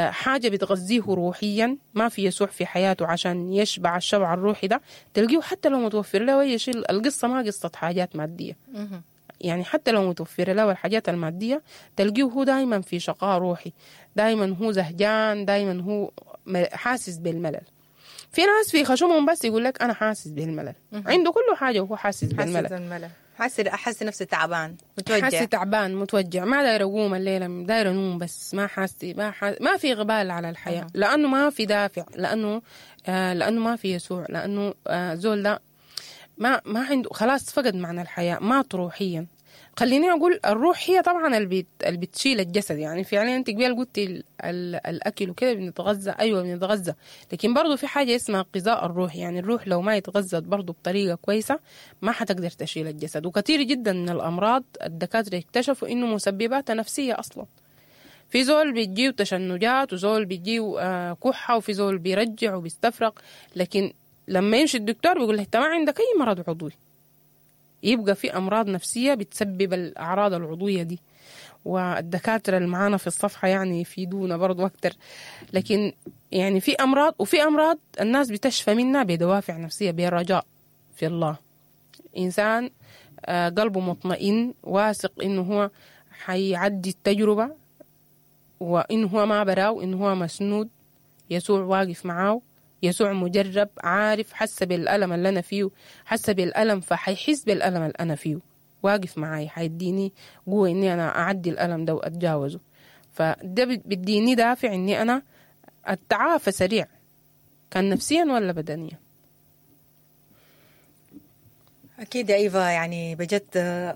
حاجة بتغذيه روحيا، ما في يسوع في حياته عشان يشبع الشبع الروحي ده، تلقيه حتى لو متوفر له أي شيء، القصة ما قصة حاجات مادية، يعني حتى لو متوفر له الحاجات المادية تلقيه هو دايما في شقاء روحي، دايما هو زهجان، دايما هو حاسس بالملل. في ناس في خشمهم بس يقول لك أنا حاسس بالملل، عنده كل حاجة وهو حاسس بالملل، حاسس بالملل، حاسس احس نفسي تعبان متوجع، حاسس تعبان متوجع، ما داير اقوم الليله، داير انوم بس، ما حاسس ما حاس ما في غبال على الحياه، أه. لانه ما في دافع، لانه آه لانه ما في يسوع، لانه آه زول ده ما ما عنده خلاص، فقد معنى الحياه، مات روحيا. خليني اقول الروح هي طبعا اللي بتشيل الجسد، يعني فعليا انت قبل قلتي الاكل وكده بنتغذى، ايوه بنتغذى، لكن برضو في حاجه اسمها غذاء الروح، يعني الروح لو ما يتغذت برضو بطريقه كويسه ما حتقدر تشيل الجسد. وكثير جدا من الامراض الدكاتره اكتشفوا انه مسبباتها نفسيه اصلا. في زول بيجيه تشنجات، وزول بيجيه كحه، وفي زول بيرجع وبيستفرغ، لكن لما يمشي الدكتور بيقول له انت ما عندك اي مرض عضوي. يبقى في أمراض نفسية بتسبب الأعراض العضوية دي، والدكاترة اللي معانا في الصفحة يعني يفيدونا برضو أكتر. لكن يعني في أمراض، وفي أمراض الناس بتشفى منها بدوافع نفسية، برجاء في الله. إنسان قلبه مطمئن، واثق إنه هو حيعدي التجربة، وإنه هو ما براو، إنه هو مسنود، يسوع واقف معاه، يسوع مجرب، عارف، حس بالألم اللي أنا فيه، حس بالألم فحيحس بالألم اللي أنا فيه، واقف معاي، حيديني قوة إني أنا أعدي الألم ده وأتجاوزه. فده بيديني دافع إني أنا التعافى سريع، كان نفسيا ولا بدنيا. أكيد يا إيفا، يعني بجد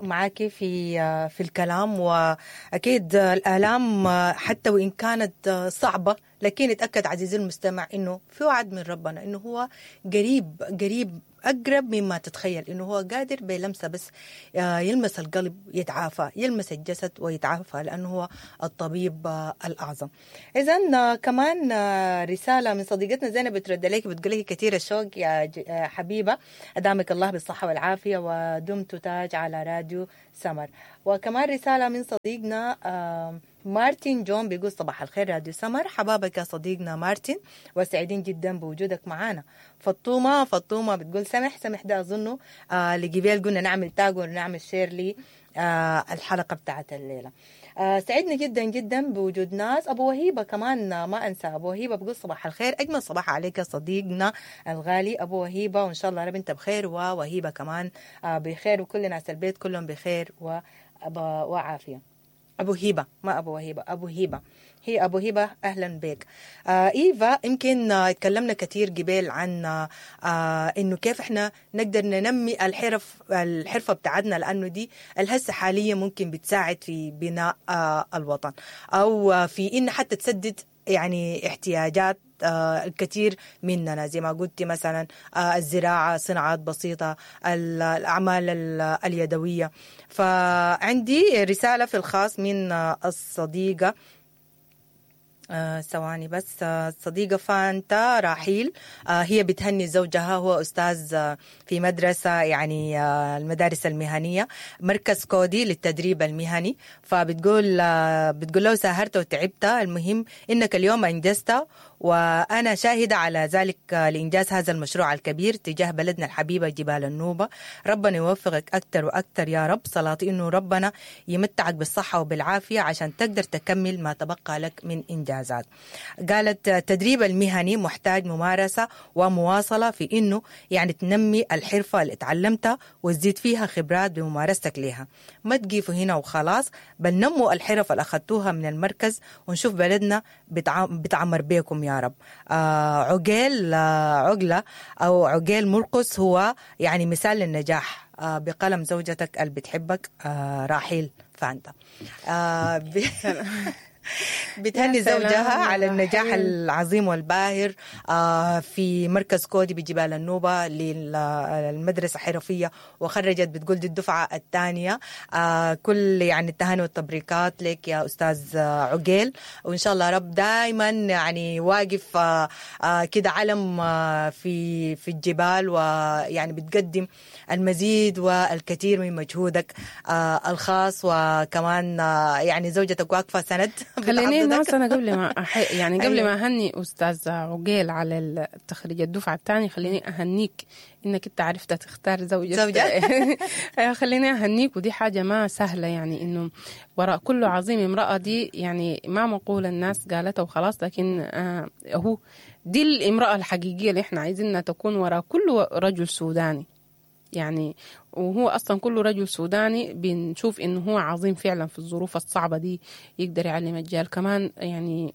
معاكي في في الكلام، وأكيد الآلام حتى وإن كانت صعبة، لكن اتأكد عزيزي المستمع إنه في وعد من ربنا إنه هو قريب قريب أقرب مما تتخيل، إنه هو قادر بلمسة بس يلمس القلب يتعافى، يلمس الجسد ويتعافى، لأنه هو الطبيب الأعظم. إذن كمان رسالة من صديقتنا زينب بترد لك، بتقول لك كثير الشوق يا حبيبة، أدامك الله بالصحة والعافية ودمت تاج على راديو سمر. وكمان رسالة من صديقنا مارتن جون بيقول صباح الخير راديو سمر، حبابك يا صديقنا مارتن وسعيدين جدا بوجودك معانا. فطومة فطومة بتقول سمح سمح، ده أظنه آه لجبال قلنا نعمل tag ونعمل share لي آه الحلقة بتاعت الليلة. آه سعدنا جدا جدا بوجود ناس. أبو وهيبة كمان ما أنسى، أبو وهيبة بقول صباح الخير، أجمل صباح عليك يا صديقنا الغالي أبو وهيبة، وإن شاء الله رب أنت بخير ووهيبة كمان آه بخير، وكل ناس البيت كلهم بخير وعافية. أبو هيبة ما أبو وهيبة، أبو هيبة، هي أبو هيبة، أهلا بك. آه إيفا، يمكن آه اتكلمنا كثير قبل عن آه إنه كيف إحنا نقدر ننمي الحرف الحرفة بتاعتنا، لأنه دي الهسة حاليا ممكن بتساعد في بناء آه الوطن، أو في إن حتى تسدد يعني احتياجات آه الكثير مننا، زي ما قلتي مثلا آه الزراعة، صناعات بسيطة، الأعمال اليدوية. فعندي رسالة في الخاص من آه الصديقة ثواني آه بس آه صديقة فانتا راحيل، آه هي بتهني زوجها، هو أستاذ آه في مدرسة يعني آه المدارس المهنية، مركز كودي للتدريب المهني. فبتقول آه بتقول له ساهرت وتعبت، المهم إنك اليوم أنجزت، وأنا شاهدة على ذلك لإنجاز هذا المشروع الكبير تجاه بلدنا الحبيبة جبال النوبة. ربنا يوفقك أكثر وأكثر يا رب، صلاتي إنه ربنا يمتعك بالصحة وبالعافية عشان تقدر تكمل ما تبقى لك من إنجازات. قالت التدريب المهني محتاج ممارسة ومواصلة في إنه يعني تنمي الحرفة اللي اتعلمتها وتزيد فيها خبرات بممارستك لها، ما تقيفوا هنا وخلاص، بل نموا الحرف اللي أخذتوها من المركز ونشوف بلدنا بتعمر بيكم يا رب. آه عقيل آه عقلة أو عقيل مرقس هو يعني مثال للنجاح آه بقلم زوجتك اللي بتحبك آه راحيل فانتا. آه ب... بتهني زوجها على النجاح العظيم والباهر في مركز كودي بجبال النوبة للمدرسة الحرفية، وخرجت بتقول دي الدفعة الثانية. كل يعني التهاني والتبريكات لك يا أستاذ عقيل، وإن شاء الله رب دائما يعني واقف كده علم في في الجبال، ويعني بتقدم المزيد والكثير من مجهودك الخاص، وكمان يعني زوجتك واقفة سند. خليني ناس أنا قبل ما أح... يعني قبل ما أهني أستاذ عقيل على تخريج الدفعة الثانية، خليني أهنيك إنك أنت عرفت تختار زوجة زوجة. خليني أهنيك، ودي حاجة ما سهلة، يعني إنه وراء كل عظيم امرأة، دي يعني ما مقولة الناس قالتها وخلاص، لكن آه هو دي الامرأة الحقيقية اللي إحنا عايزينها تكون وراء كل رجل سوداني. يعني وهو أصلا كل رجل سوداني بنشوف إنه هو عظيم فعلا في الظروف الصعبة دي، يقدر يعلم الرجال كمان. يعني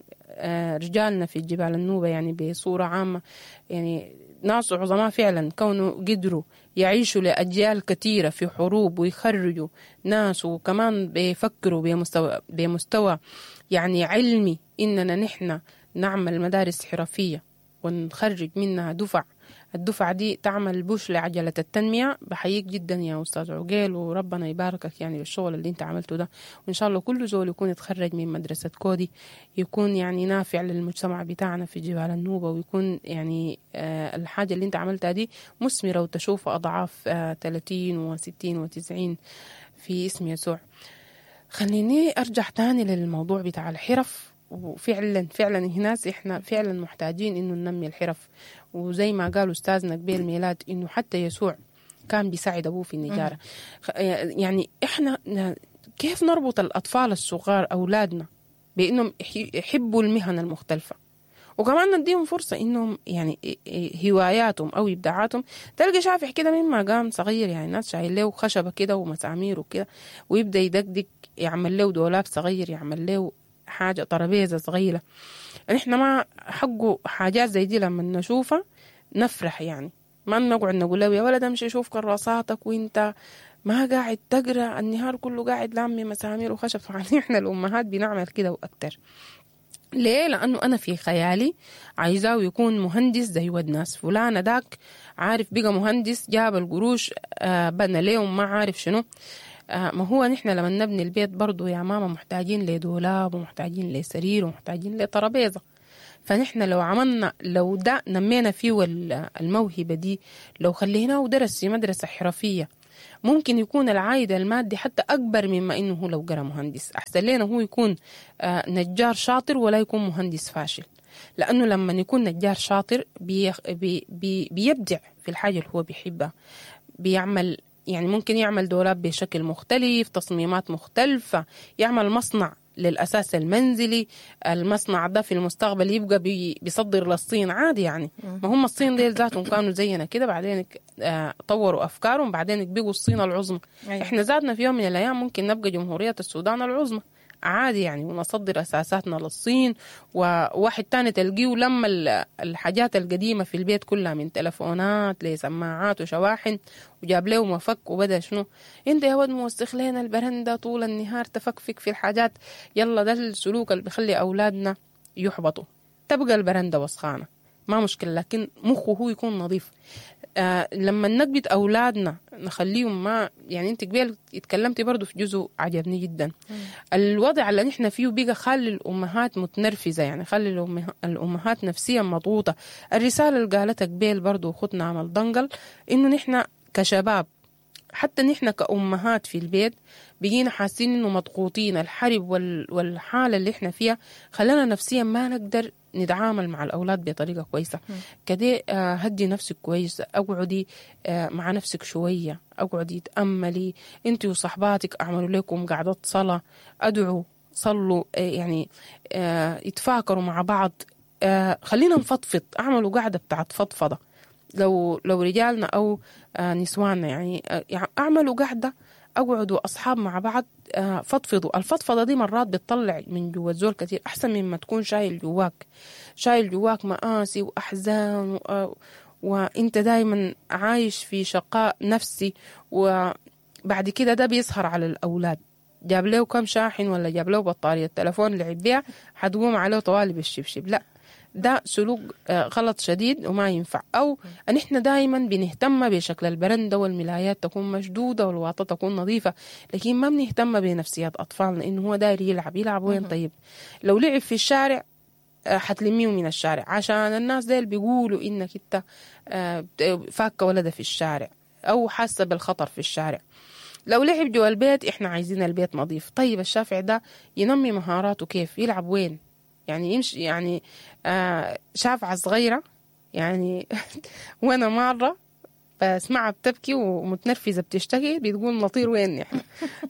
رجالنا في جبال النوبة يعني بصورة عامة يعني ناس عظماء فعلا، كونه قدروا يعيشوا لأجيال كثيرة في حروب ويخرجوا ناس، وكمان بيفكروا بمستوى, بمستوى يعني علمي إننا نحن نعمل مدارس حرفية ونخرج منها دفع، الدفعة دي تعمل بوش لعجلة التنمية. بحييك جدا يا أستاذ عقيل، وربنا يباركك يعني بالشغل اللي انت عملته ده، وإن شاء الله كل زول يكون يتخرج من مدرسة كودي يكون يعني نافع للمجتمع بتاعنا في جبال النوبة، ويكون يعني آه الحاجة اللي انت عملتها دي مثمرة وتشوف أضعاف آه ثلاثين وستين وتسعين في اسم يسوع. خليني أرجع تاني للموضوع بتاع الحرف، وفعلا فعلا هناس احنا فعلا محتاجين انه ننمي الحرف، وزي ما قالوا استاذنا قبيل ميلاد انه حتى يسوع كان بيساعد ابوه في النجارة. يعني احنا كيف نربط الاطفال الصغار اولادنا بانهم يحبوا المهن المختلفة، وكمان نديهم فرصة انهم يعني هواياتهم او ابداعاتهم. تلقى شافح كده مما قام صغير، يعني الناس شايل له خشبه كده ومسامير وكده، ويبدا يدقدق، يعمل له دولاب صغير، يعمل له حاجة ترابيزة صغيرة. نحن ما حقه حاجات زي دي لما نشوفها نفرح، يعني ما نقعد نقول له يا ولد امشي شوف كراساتك وانت ما قاعد تقرا النهار كله قاعد لامي مسامير وخشب. يعني احنا الامهات بنعمل كده واكتر. ليه؟ لانه انا في خيالي عايزاه يكون مهندس زي ود ناس فلانه داك، عارف بقى مهندس جاب القروش آه بنى ليه ما عارف شنو. آه ما هو نحن لما نبني البيت برضو يا ماما محتاجين لدولاب ومحتاجين لسرير ومحتاجين لترابيزه. فنحن لو عملنا، لو ده نمينا فيه الموهبة دي، لو خليناه ودرس في مدرسة حرفية، ممكن يكون العائد المادي حتى أكبر مما إنه هو لو قرأ مهندس. أحسن لنا هو يكون نجار شاطر ولا يكون مهندس فاشل، لأنه لما يكون نجار شاطر بي بي بيبدع في الحاجة اللي هو بيحبها، بيعمل يعني ممكن يعمل دولاب بشكل مختلف، تصميمات مختلفة، يعمل مصنع للأساس المنزلي. المصنع ده في المستقبل يبقى بي بيصدر للصين عادي يعني. ما هم الصين ديل ذاتهم كانوا زينا كده، بعدين طوروا أفكارهم، بعدين بقوا الصين العظمى. أيوة. إحنا ذاتنا في يوم من الأيام ممكن نبقى جمهورية السودان العظمى عادي يعني، ونصدر أساساتنا للصين. وواحد تاني تلقيه لما الحاجات القديمة في البيت كلها من تلفونات لسماعات وشواحن، وجاب له مفك وبدأ شنو، انت يا ود موسخ لنا البرندة طول النهار تفكفك في الحاجات. يلا ده السلوك اللي بيخلي أولادنا يحبطوا. تبقى البرندة وسخانة ما مشكلة، لكن مخه هو يكون نظيف. آه لما نكبت أولادنا نخليهم ما يعني، انت قبل اتكلمتي برضو في جزء عجبني جدا. مم. الوضع اللي نحن فيه بقى خلي الأمهات متنرفزة، يعني خلي الأمهات نفسيا مضغوطة. الرسالة اللي قالتها قبل برضو أختنا عمل دنقل، إنه نحن كشباب حتى نحن كأمهات في البيت بقينا حاسين إنه مضغوطين. الحرب والحالة اللي احنا فيها خلانا نفسيا ما نقدر نتعامل مع الأولاد بطريقة كويسة. كده هدي نفسك كويس، أقعدي مع نفسك شوية، أقعدي تأملي انت وصحباتك، أعملوا لكم قعدات صلاة، أدعوا، صلوا، يعني يتفاكروا مع بعض، خلينا نفضفض، أعملوا قعدة بتاعت فضفضة. لو لو رجالنا أو نسواننا يعني أعملوا قعدة، أقعدوا أصحاب مع بعض، فضفضوا. الفضفضة دي مرات بتطلع من جوا الزول كتير، أحسن مما تكون شايل جواك، شايل جواك مآسي وأحزان و... وإنت دايما عايش في شقاء نفسي. وبعد كده ده بيسهر على الأولاد، جاب له كم شاحن ولا جاب له بطارية تلفون لعب بيها حتقوم عليه طوالي بالشبشب. لا، ده سلوك غلط شديد وما ينفع. أو أن إحنا دايما بنهتم بشكل البرندة والملايات تكون مشدودة والواطة تكون نظيفة، لكن ما بنهتم بنفسيات أطفالنا إنه هو داير يلعب. يلعب وين؟ طيب لو لعب في الشارع حتلميه من الشارع، عشان الناس ديل بيقولوا إنك أنت فاكة ولده في الشارع أو حاسة بالخطر في الشارع. لو لعب جوا البيت إحنا عايزين البيت نظيف. طيب الشافع ده ينمي مهاراته كيف؟ يلعب وين؟ يعني يمشي يعني آه شافعة صغيرة يعني وأنا مرة بسمعها بتبكي ومتنرفزة بتشتكي، بتقول نطير وين نحن؟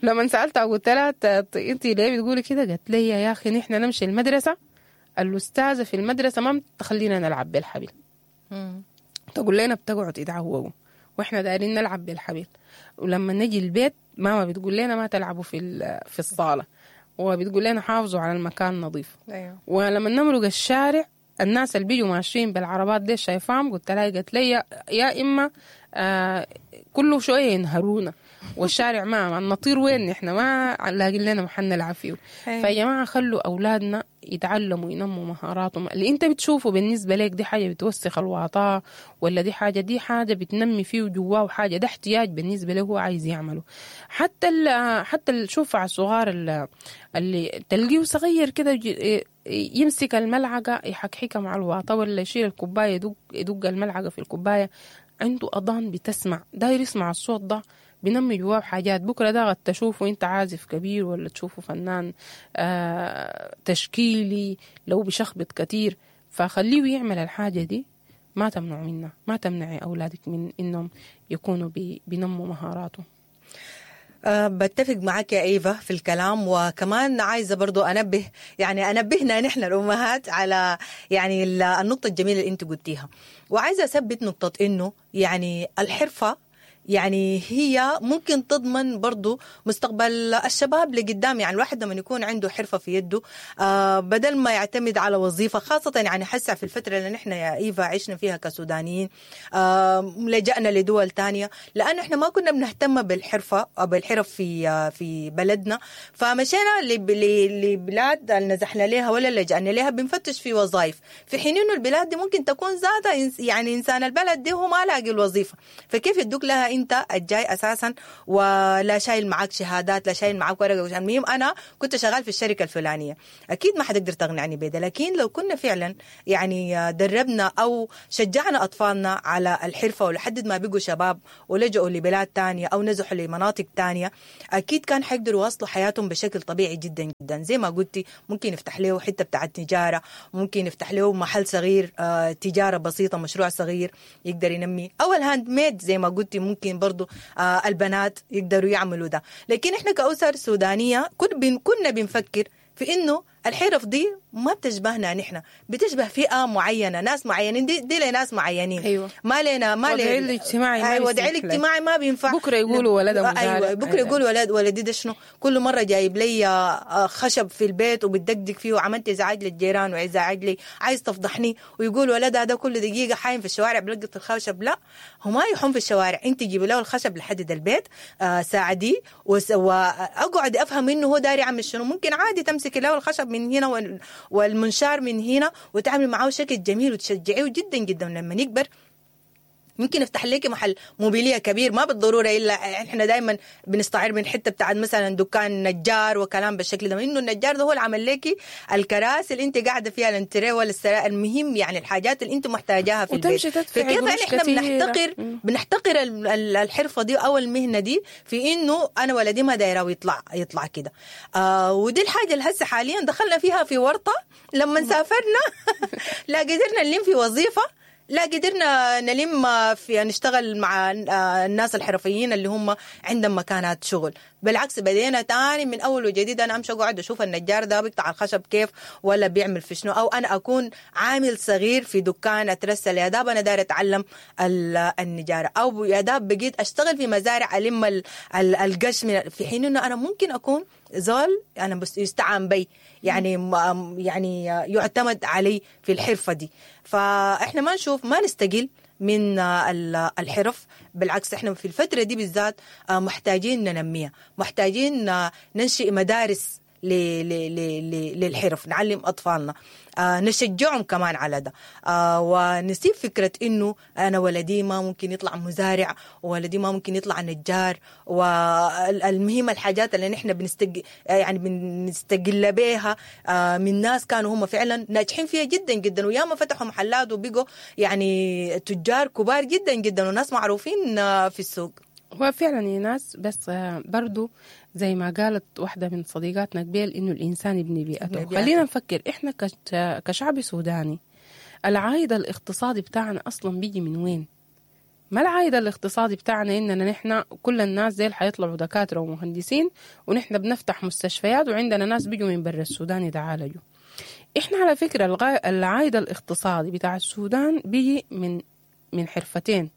لما سألتها قلت لها أنت ليه بتقولي كده؟ قالت لي يا أخي نحن نمشي المدرسة، الأستاذة في المدرسة ما تخلينا نلعب بالحبل، تقول لنا بتقعد ادعوه وإحنا دايرين نلعب بالحبل، ولما نجي البيت ماما بتقول لنا ما تلعبوا في في الصالة، وبتقول لنا حافظوا على المكان نظيف. أيوه. ولما نمرق الشارع الناس اللي بيجوا ماشيين بالعربات دي شايفاهم، قلت لها قالت لي يا إما آه كله شوية ينهرونا والشارع ما نطير وين نحن، ما لاقين لنا محل نلعب فيه. أيوه. فيا جماعة خلوا أولادنا يتعلموا ينموا مهاراتهم. اللي أنت بتشوفه بالنسبة لك دي حاجة بتوسخ الواطة ولا دي حاجة، دي حاجة بتنمي فيه جواه، وحاجة ده احتياج بالنسبة له هو عايز يعمله. حتى ال حتى الشوف على الصغار اللي تلقيه صغير كده يمسك الملعقة يحكحكها مع الواطة، ولا يشيل الكوباية يدق يدق الملعقة في الكوباية، عنده أذان بتسمع، داير يسمع الصوت ده، بنمي جواه حاجات. بكرة ده قد تشوفه انت عازف كبير ولا تشوفه فنان آه تشكيلي لو بشخبط كتير. فخليه يعمل الحاجة دي، ما تمنعوا منها، ما تمنعي أولادك من إنهم يكونوا بي بنموا مهاراتهم. أه بتفق معك يا إيفا في الكلام، وكمان عايزة برضو أنبه، يعني أنبهنا نحن الأمهات على يعني النقطة الجميلة اللي أنت قلتيها، وعايزة أثبت نقطة إنه يعني الحرفة يعني هي ممكن تضمن برضو مستقبل الشباب لقدام. يعني الواحد لما يكون عنده حرفة في يده آه بدل ما يعتمد على وظيفة، خاصة يعني حسع في الفترة اللي نحن يا إيفا عشنا فيها كسودانيين آه لجأنا لدول تانية لأنه إحنا ما كنا بنهتم بالحرفة أو بالحرف في آه في بلدنا، فمشينا لبلاد اللي نزحنا لها ولا لجأنا لها بنفتش في وظائف، في حين إنه البلاد دي ممكن تكون ذاتها يعني إنسان البلد دي هو ما لاقي الوظيفة، فكيف يدوك لها انت الجاي اساسا ولا شايل معاك شهادات لا شايل معاك ورقة؟ المهم انا كنت شغال في الشركة الفلانية، اكيد ما حتقدر تقنعني بده. لكن لو كنا فعلا يعني دربنا او شجعنا اطفالنا على الحرفة ولحد ما بقوا شباب ولجؤوا لبلاد تانية او نزحوا لمناطق تانية، اكيد كان حيقدروا يواصلوا حياتهم بشكل طبيعي جدا جدا. زي ما قلتي ممكن يفتح له حتة بتاعه تجارة، ممكن يفتح له محل صغير آه، تجارة بسيطة، مشروع صغير يقدر ينمي، او ال handmade زي ما قلتي ممكن برضو آه البنات يقدروا يعملوا ده. لكن احنا كأسر سودانية كنا بنفكر في انه الحرف دي ما بتشبهنا نحن، بتشبه فئة معينة، ناس معينين، دي, دي لناس معينين. أيوة. ما لنا ما وضعي الاجتماعي ما أيوة، وضعي الاجتماعي ما بينفع. بكره يقولوا ولد مزارع. أيوة، بكره يقولوا ولد ولدي ده شنو، كل مرة جايب لي خشب في البيت وبتدقدق فيه وعملت ازعاج للجيران وازعاج لي، عايز تفضحني، ويقول ولدها ده كل دقيقة حايم في الشوارع بلقط الخشب. لا، هو ما يحوم في الشوارع، انت جيبي له الخشب لحد البيت، آه ساعديه واقعد افهم انه هو داري يعمل شنو. ممكن عادي تمسكي له الخشب من هنا والمنشار من هنا وتعمل معاه شكل جميل وتشجعيه جدا جدا. لما يكبر ممكن يفتح لك محل موبيلية كبير، ما بالضرورة إلا احنا دائما بنستعير من حتة بتاعت مثلا دكان نجار وكلام بالشكل ده، انه النجار ده هو اللي عمل لك الكراسي اللي انت قاعدة فيها، الانتريه ولا السراء، المهم يعني الحاجات اللي انت محتاجاها في البيت. فكيف احنا بنحتقر بنحتقر الحرفة دي او المهنة دي في انه انا ولدي ما دايرة يطلع يطلع كده. آه ودي الحاجة اللي هسه حاليا دخلنا فيها في ورطة لما سافرنا لا قدرنا نلم في وظيفة، لا قدرنا نلم في نشتغل مع الناس الحرفيين اللي هم عندهم مكانات شغل. بالعكس بدينا تاني من أول وجديد، أنا أمشي أقعد أشوف النجار ده بيقطع الخشب كيف ولا بيعمل في شنو، أو أنا أكون عامل صغير في دكان أترسل يا داب أنا داير أتعلم النجارة، أو يا داب بقيت أشتغل في مزارع ألم القش، في حين إنه أنا ممكن أكون زول أنا بس يستعان بي، يعني يعني يعتمد علي في الحرفة دي. فإحنا ما نشوف ما نستقل من الحرف، بالعكس احنا في الفترة دي بالذات محتاجين ننميها، محتاجين ننشئ مدارس للحرف، نعلم أطفالنا، نشجعهم كمان على ده، ونسيب فكرة إنه أنا ولدي ما ممكن يطلع مزارع، وولدي ما ممكن يطلع نجار، والمهم الحاجات اللي نحن بنستج يعني بنستقل بيها من ناس كانوا هم فعلا ناجحين فيها جدا جدا، وياما فتحوا محلات وبقوا يعني تجار كبار جدا جدا وناس معروفين في السوق. هو فعلا يا ناس، بس برضو زي ما قالت واحدة من صديقاتنا قبل إنه الإنسان يبني بيئته. خلينا نفكر إحنا كشعب سوداني العائد الاقتصادي بتاعنا أصلا بيجي من وين؟ ما العائد الاقتصادي بتاعنا إننا نحن كل الناس زي اللي حيطلعوا دكاترة ومهندسين، ونحن بنفتح مستشفيات وعندنا ناس بيجوا من برا السودان يتعالجوا. إحنا على فكرة العائد الاقتصادي بتاع السودان بيجي من من حرفتين،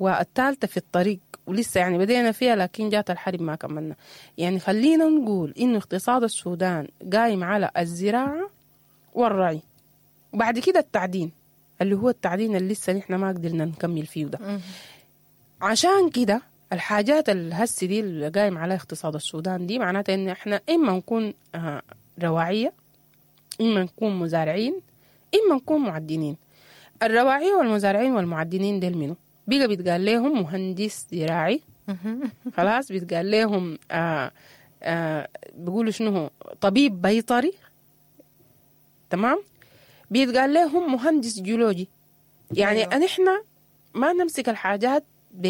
والثالثة في الطريق ولسه يعني بدينا فيها لكن جات الحرب ما كملنا. يعني خلينا نقول إنه اقتصاد السودان قايم على الزراعة والرعي، وبعد كده التعدين اللي هو التعدين اللي لسه نحن ما قدرنا نكمل فيه ده. عشان كده الحاجات الهسي دي اللي قايم على اقتصاد السودان دي معناتها إن احنا إما نكون رواعية، إما نكون مزارعين، إما نكون معدنين. الرواعية والمزارعين والمعدنين ديل منو؟ بيجا بيتقال لهم مهندس زراعي، خلاص بيتقال لهم آه آه بيقولوا شنو هو طبيب بيطري، تمام، بيتقال لهم مهندس جيولوجي. يعني أيوة. نحن ما نمسك الحاجات ب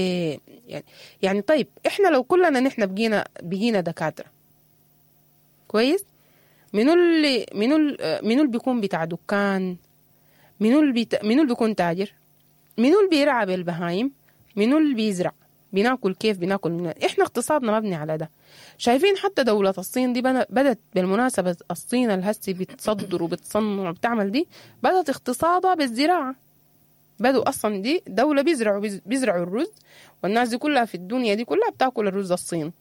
يعني يعني طيب احنا لو كلنا نحن بقينا بقينا دكاترة كويس، منو اللي منو منو اللي بيكون بتاع دكان، منو اللي بيت... منو اللي بيكون تاجر، منو اللي بيرعى بالبهايم، منو اللي بيزرع، بناكل كيف، بناكل من احنا اقتصادنا مبني على ده. شايفين حتى دولة الصين دي بدت بالمناسبة، الصين الهسي بتصدر وبتصنع وبتعمل دي، بدت اقتصادها بالزراعة. بدوا اصلا دي دولة بيزرعوا بيزرعوا الرز، والناس دي كلها في الدنيا دي كلها بتاكل الرز الصيني،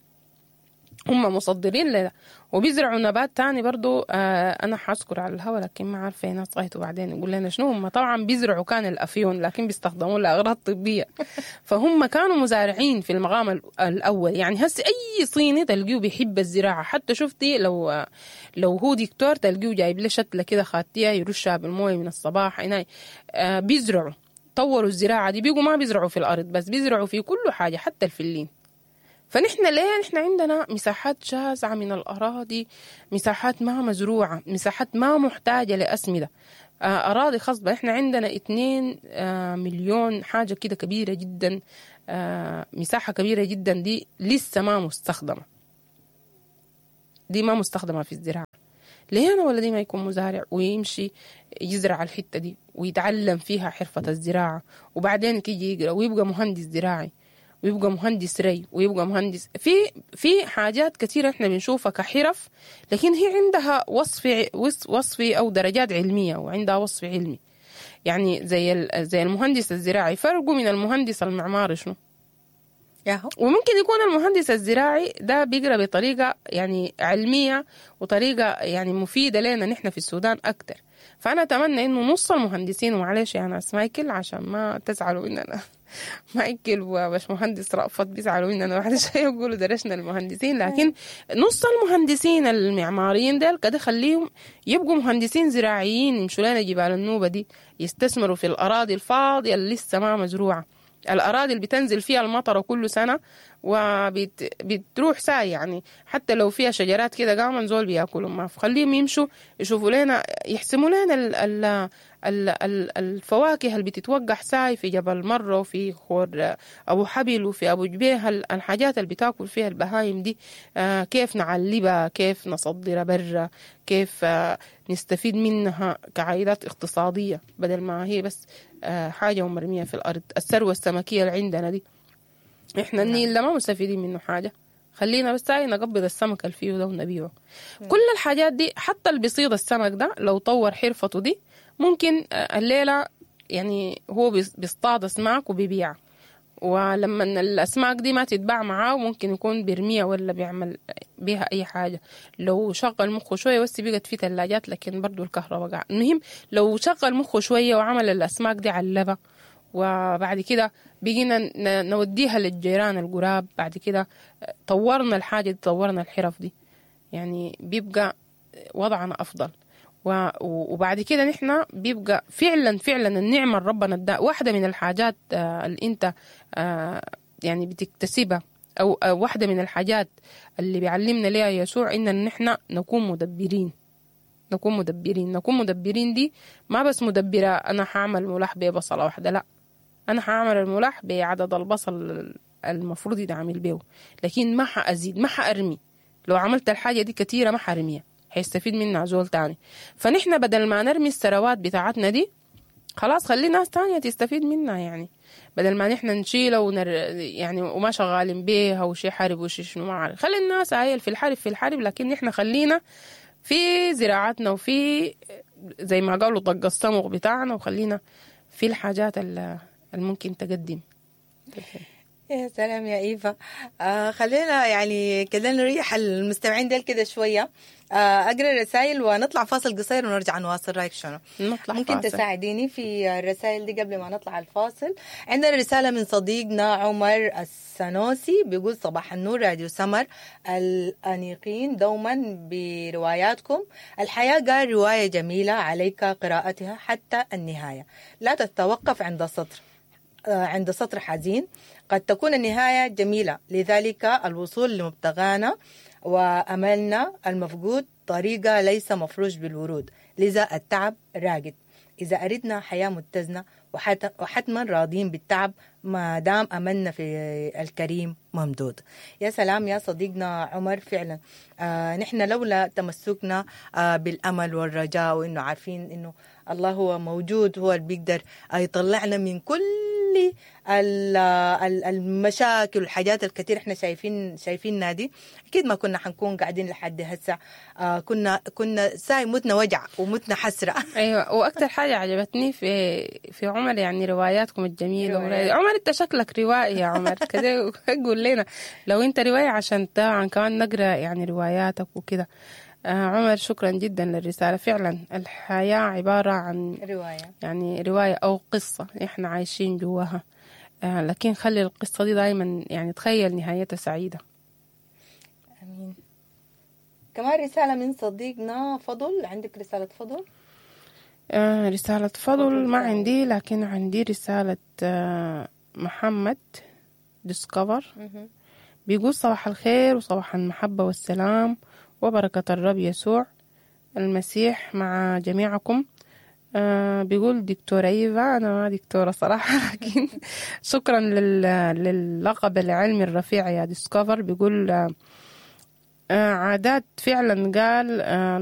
هم مصدرين لده. وبيزرعوا نبات تاني برضو، آه أنا حأذكر على الهوا لكن ما عارفة ناس غايته بعدين يقول لنا شنو. هم طبعا بيزرعوا كان الأفيون لكن بيستخدموه لأغراض طبية. فهم كانوا مزارعين في المقام الأول. يعني هسي أي صيني تلقيه بيحب الزراعة، حتى شفتي لو لو هو دكتور تلقيه جايب له شتلة كده خاتية يرشها بالموية من الصباح هنا. آه بيزرعوا، طوروا الزراعة دي، بيقوا ما بيزرعوا في الأرض بس، بيزرعوا في كل حاجة حتى الفلين. فنحن ليه نحن عندنا مساحات شاسعة من الأراضي، مساحات ما مزروعة، مساحات ما محتاجة لأسمدة، أراضي خصبة. نحن عندنا اتنين مليون حاجة كده كبيرة جدا، مساحة كبيرة جدا دي لسه ما مستخدمة، دي ما مستخدمة في الزراعة. ليه أنا ولدي ما يكون مزارع ويمشي يزرع الحتة دي ويتعلم فيها حرفة الزراعة، وبعدين يجي يقرأ ويبقى مهندس زراعي ويبقى مهندس ري ويبقى مهندس في في حاجات كثيرة احنا بنشوفها كحرف، لكن هي عندها وصف وصفي او درجات علمية وعندها وصف علمي. يعني زي زي المهندس الزراعي فرقه من المهندس المعماري شنو؟ وممكن يكون المهندس الزراعي ده بيقرأ بطريقة يعني علمية وطريقة يعني مفيدة لنا نحن في السودان أكتر. فأنا أتمنى إنه نص المهندسين، ومعلش يا ناس مايكل عشان ما تزعلوا إننا مايكل وباش مهندس رأفت بيزعلوا إننا بعد شوية يقولوا درسنا المهندسين، لكن نص المهندسين المعماريين ديل كده خليهم يبقوا مهندسين زراعيين، يمشوا لنا جبال النوبة دي، يستثمروا في الأراضي الفاضية اللي لسه ما مزروعة، الأراضي اللي بتنزل فيها المطر كل سنة وبتروح ساي، يعني حتى لو فيها شجرات كده قامن زول بياكلوا ما، خليهم يمشوا يشوفوا لنا، يحسموا لنا ال ال ال ال الفواكه اللي بتتوقع ساي في جبل مرة وفي خور أبو حبل وفي أبو جبية، الحاجات اللي بتاكل فيها البهايم دي، آه كيف نعلبها، كيف نصدرها برا، كيف آه نستفيد منها كعائدات اقتصادية بدل ما هي بس آه حاجة ومرمية في الأرض. الثروة السمكية اللي عندنا دي احنا النيل ده ما مستفيدين منه حاجة، خلينا بس هاي نقبض السمك اللي فيه ده ونبيعه. كل الحاجات دي حتى اللي بيصيد السمك ده لو طور حرفته دي ممكن الليلة يعني هو بيصطاد أسماك وبيبيع، ولما الأسماك دي ما تتباع معاه ممكن يكون بيرميها ولا بيعمل بيها أي حاجة. لو شغل مخه شوية، بس بقت في ثلاجات لكن برضو الكهرباء قاع. المهم لو شغل مخه شوية وعمل الأسماك دي علبة، وبعد كده بقينا نوديها للجيران القراب، بعد كده طورنا الحاجة دي، طورنا الحرف دي، يعني بيبقى وضعنا أفضل. وبعد كده نحن بيبقى فعلا فعلا النعمة ربنا اداها. واحدة من الحاجات اللي انت يعني بتكتسبها، أو واحدة من الحاجات اللي بيعلمنا ليها يسوع، إن نحن نكون مدبرين، نكون مدبرين، نكون مدبرين. دي ما بس مدبرة أنا هعمل ملاح ببصلة واحدة، لا، أنا هعمل الملاح بعدد البصل المفروض يتعمل بيه، لكن ما حأزيد، ما حأرمي. لو عملت الحاجة دي كتيرة ما حرميها، هيستفيد منها زول تاني. فنحن بدل ما نرمي الثروات بتاعتنا دي، خلاص خلي ناس تانية تستفيد منها. يعني بدل ما نحن نشيلها ونر... يعني وما شغالين بيها وشي حرب وشي شنو ما عارف، خلي الناس عايل في الحرب في الحرب، لكن نحن خلينا في زراعتنا وفي زي ما قالوا طق الصمغ بتاعنا، وخلينا في الحاجات اللي ممكن تقدم. يا سلام يا إيفا. آه خلينا يعني كده نريح المستمعين ديل كده شوية. آه أقرأ الرسائل ونطلع فاصل قصير ونرجع نواصل. رأيك شنو؟ نطلع ممكن فاصل. تساعديني في الرسائل دي قبل ما نطلع الفاصل؟ عندنا رسالة من صديقنا عمر السنوسي بيقول صباح النور راديو سمر الأنيقين دوما برواياتكم. الحياة قال رواية جميلة عليك قراءتها حتى النهاية، لا تتوقف عند سطر عند سطر حزين، قد تكون النهاية جميلة، لذلك الوصول لمبتغانا وأملنا المفقود طريقة ليس مفروش بالورود، لذا التعب راقد. إذا أردنا حياة متزنة وحتما راضين بالتعب ما دام أملنا في الكريم ممدود. يا سلام يا صديقنا عمر، فعلا آه نحن لولا تمسكنا آه بالأمل والرجاء وإنه عارفين إنه الله هو موجود، هو اللي بيقدر يطلعنا من كل كل ال- ال- المشاكل والحاجات الكثير احنا شايفين شايفينها دي، اكيد ما كنا حنكون قاعدين لحد هسه. آه كنا كنا ساي متنا وجع ومتنا حسرة. ايوه، واكثر حاجة عجبتني في في عمر يعني رواياتكم الجميلة. روايات. عمر انت شكلك روائي يا عمر، كده قول لنا لو انت روائي عشان طبعا كمان نقرا يعني رواياتك وكده. آه عمر شكرا جدا للرسالة، فعلا الحياة عبارة عن رواية، يعني رواية او قصة احنا عايشين جواها، آه لكن خلي القصة دي دايما يعني تخيل نهايتها سعيدة. امين. كمان رسالة من صديقنا فضل، عندك رسالة فضل؟ آه رسالة فضل ما عندي، لكن عندي رسالة آه محمد ديسكفر، بيقول صباح الخير وصباح المحبة والسلام وبركة الرب يسوع المسيح مع جميعكم. آه بيقول دكتورة إيفا، أنا ما دكتورة صراحة لكن شكرا لل للقب العلمي الرفيع يا ديسكفر. بيقول آه عادات فعلا قال آه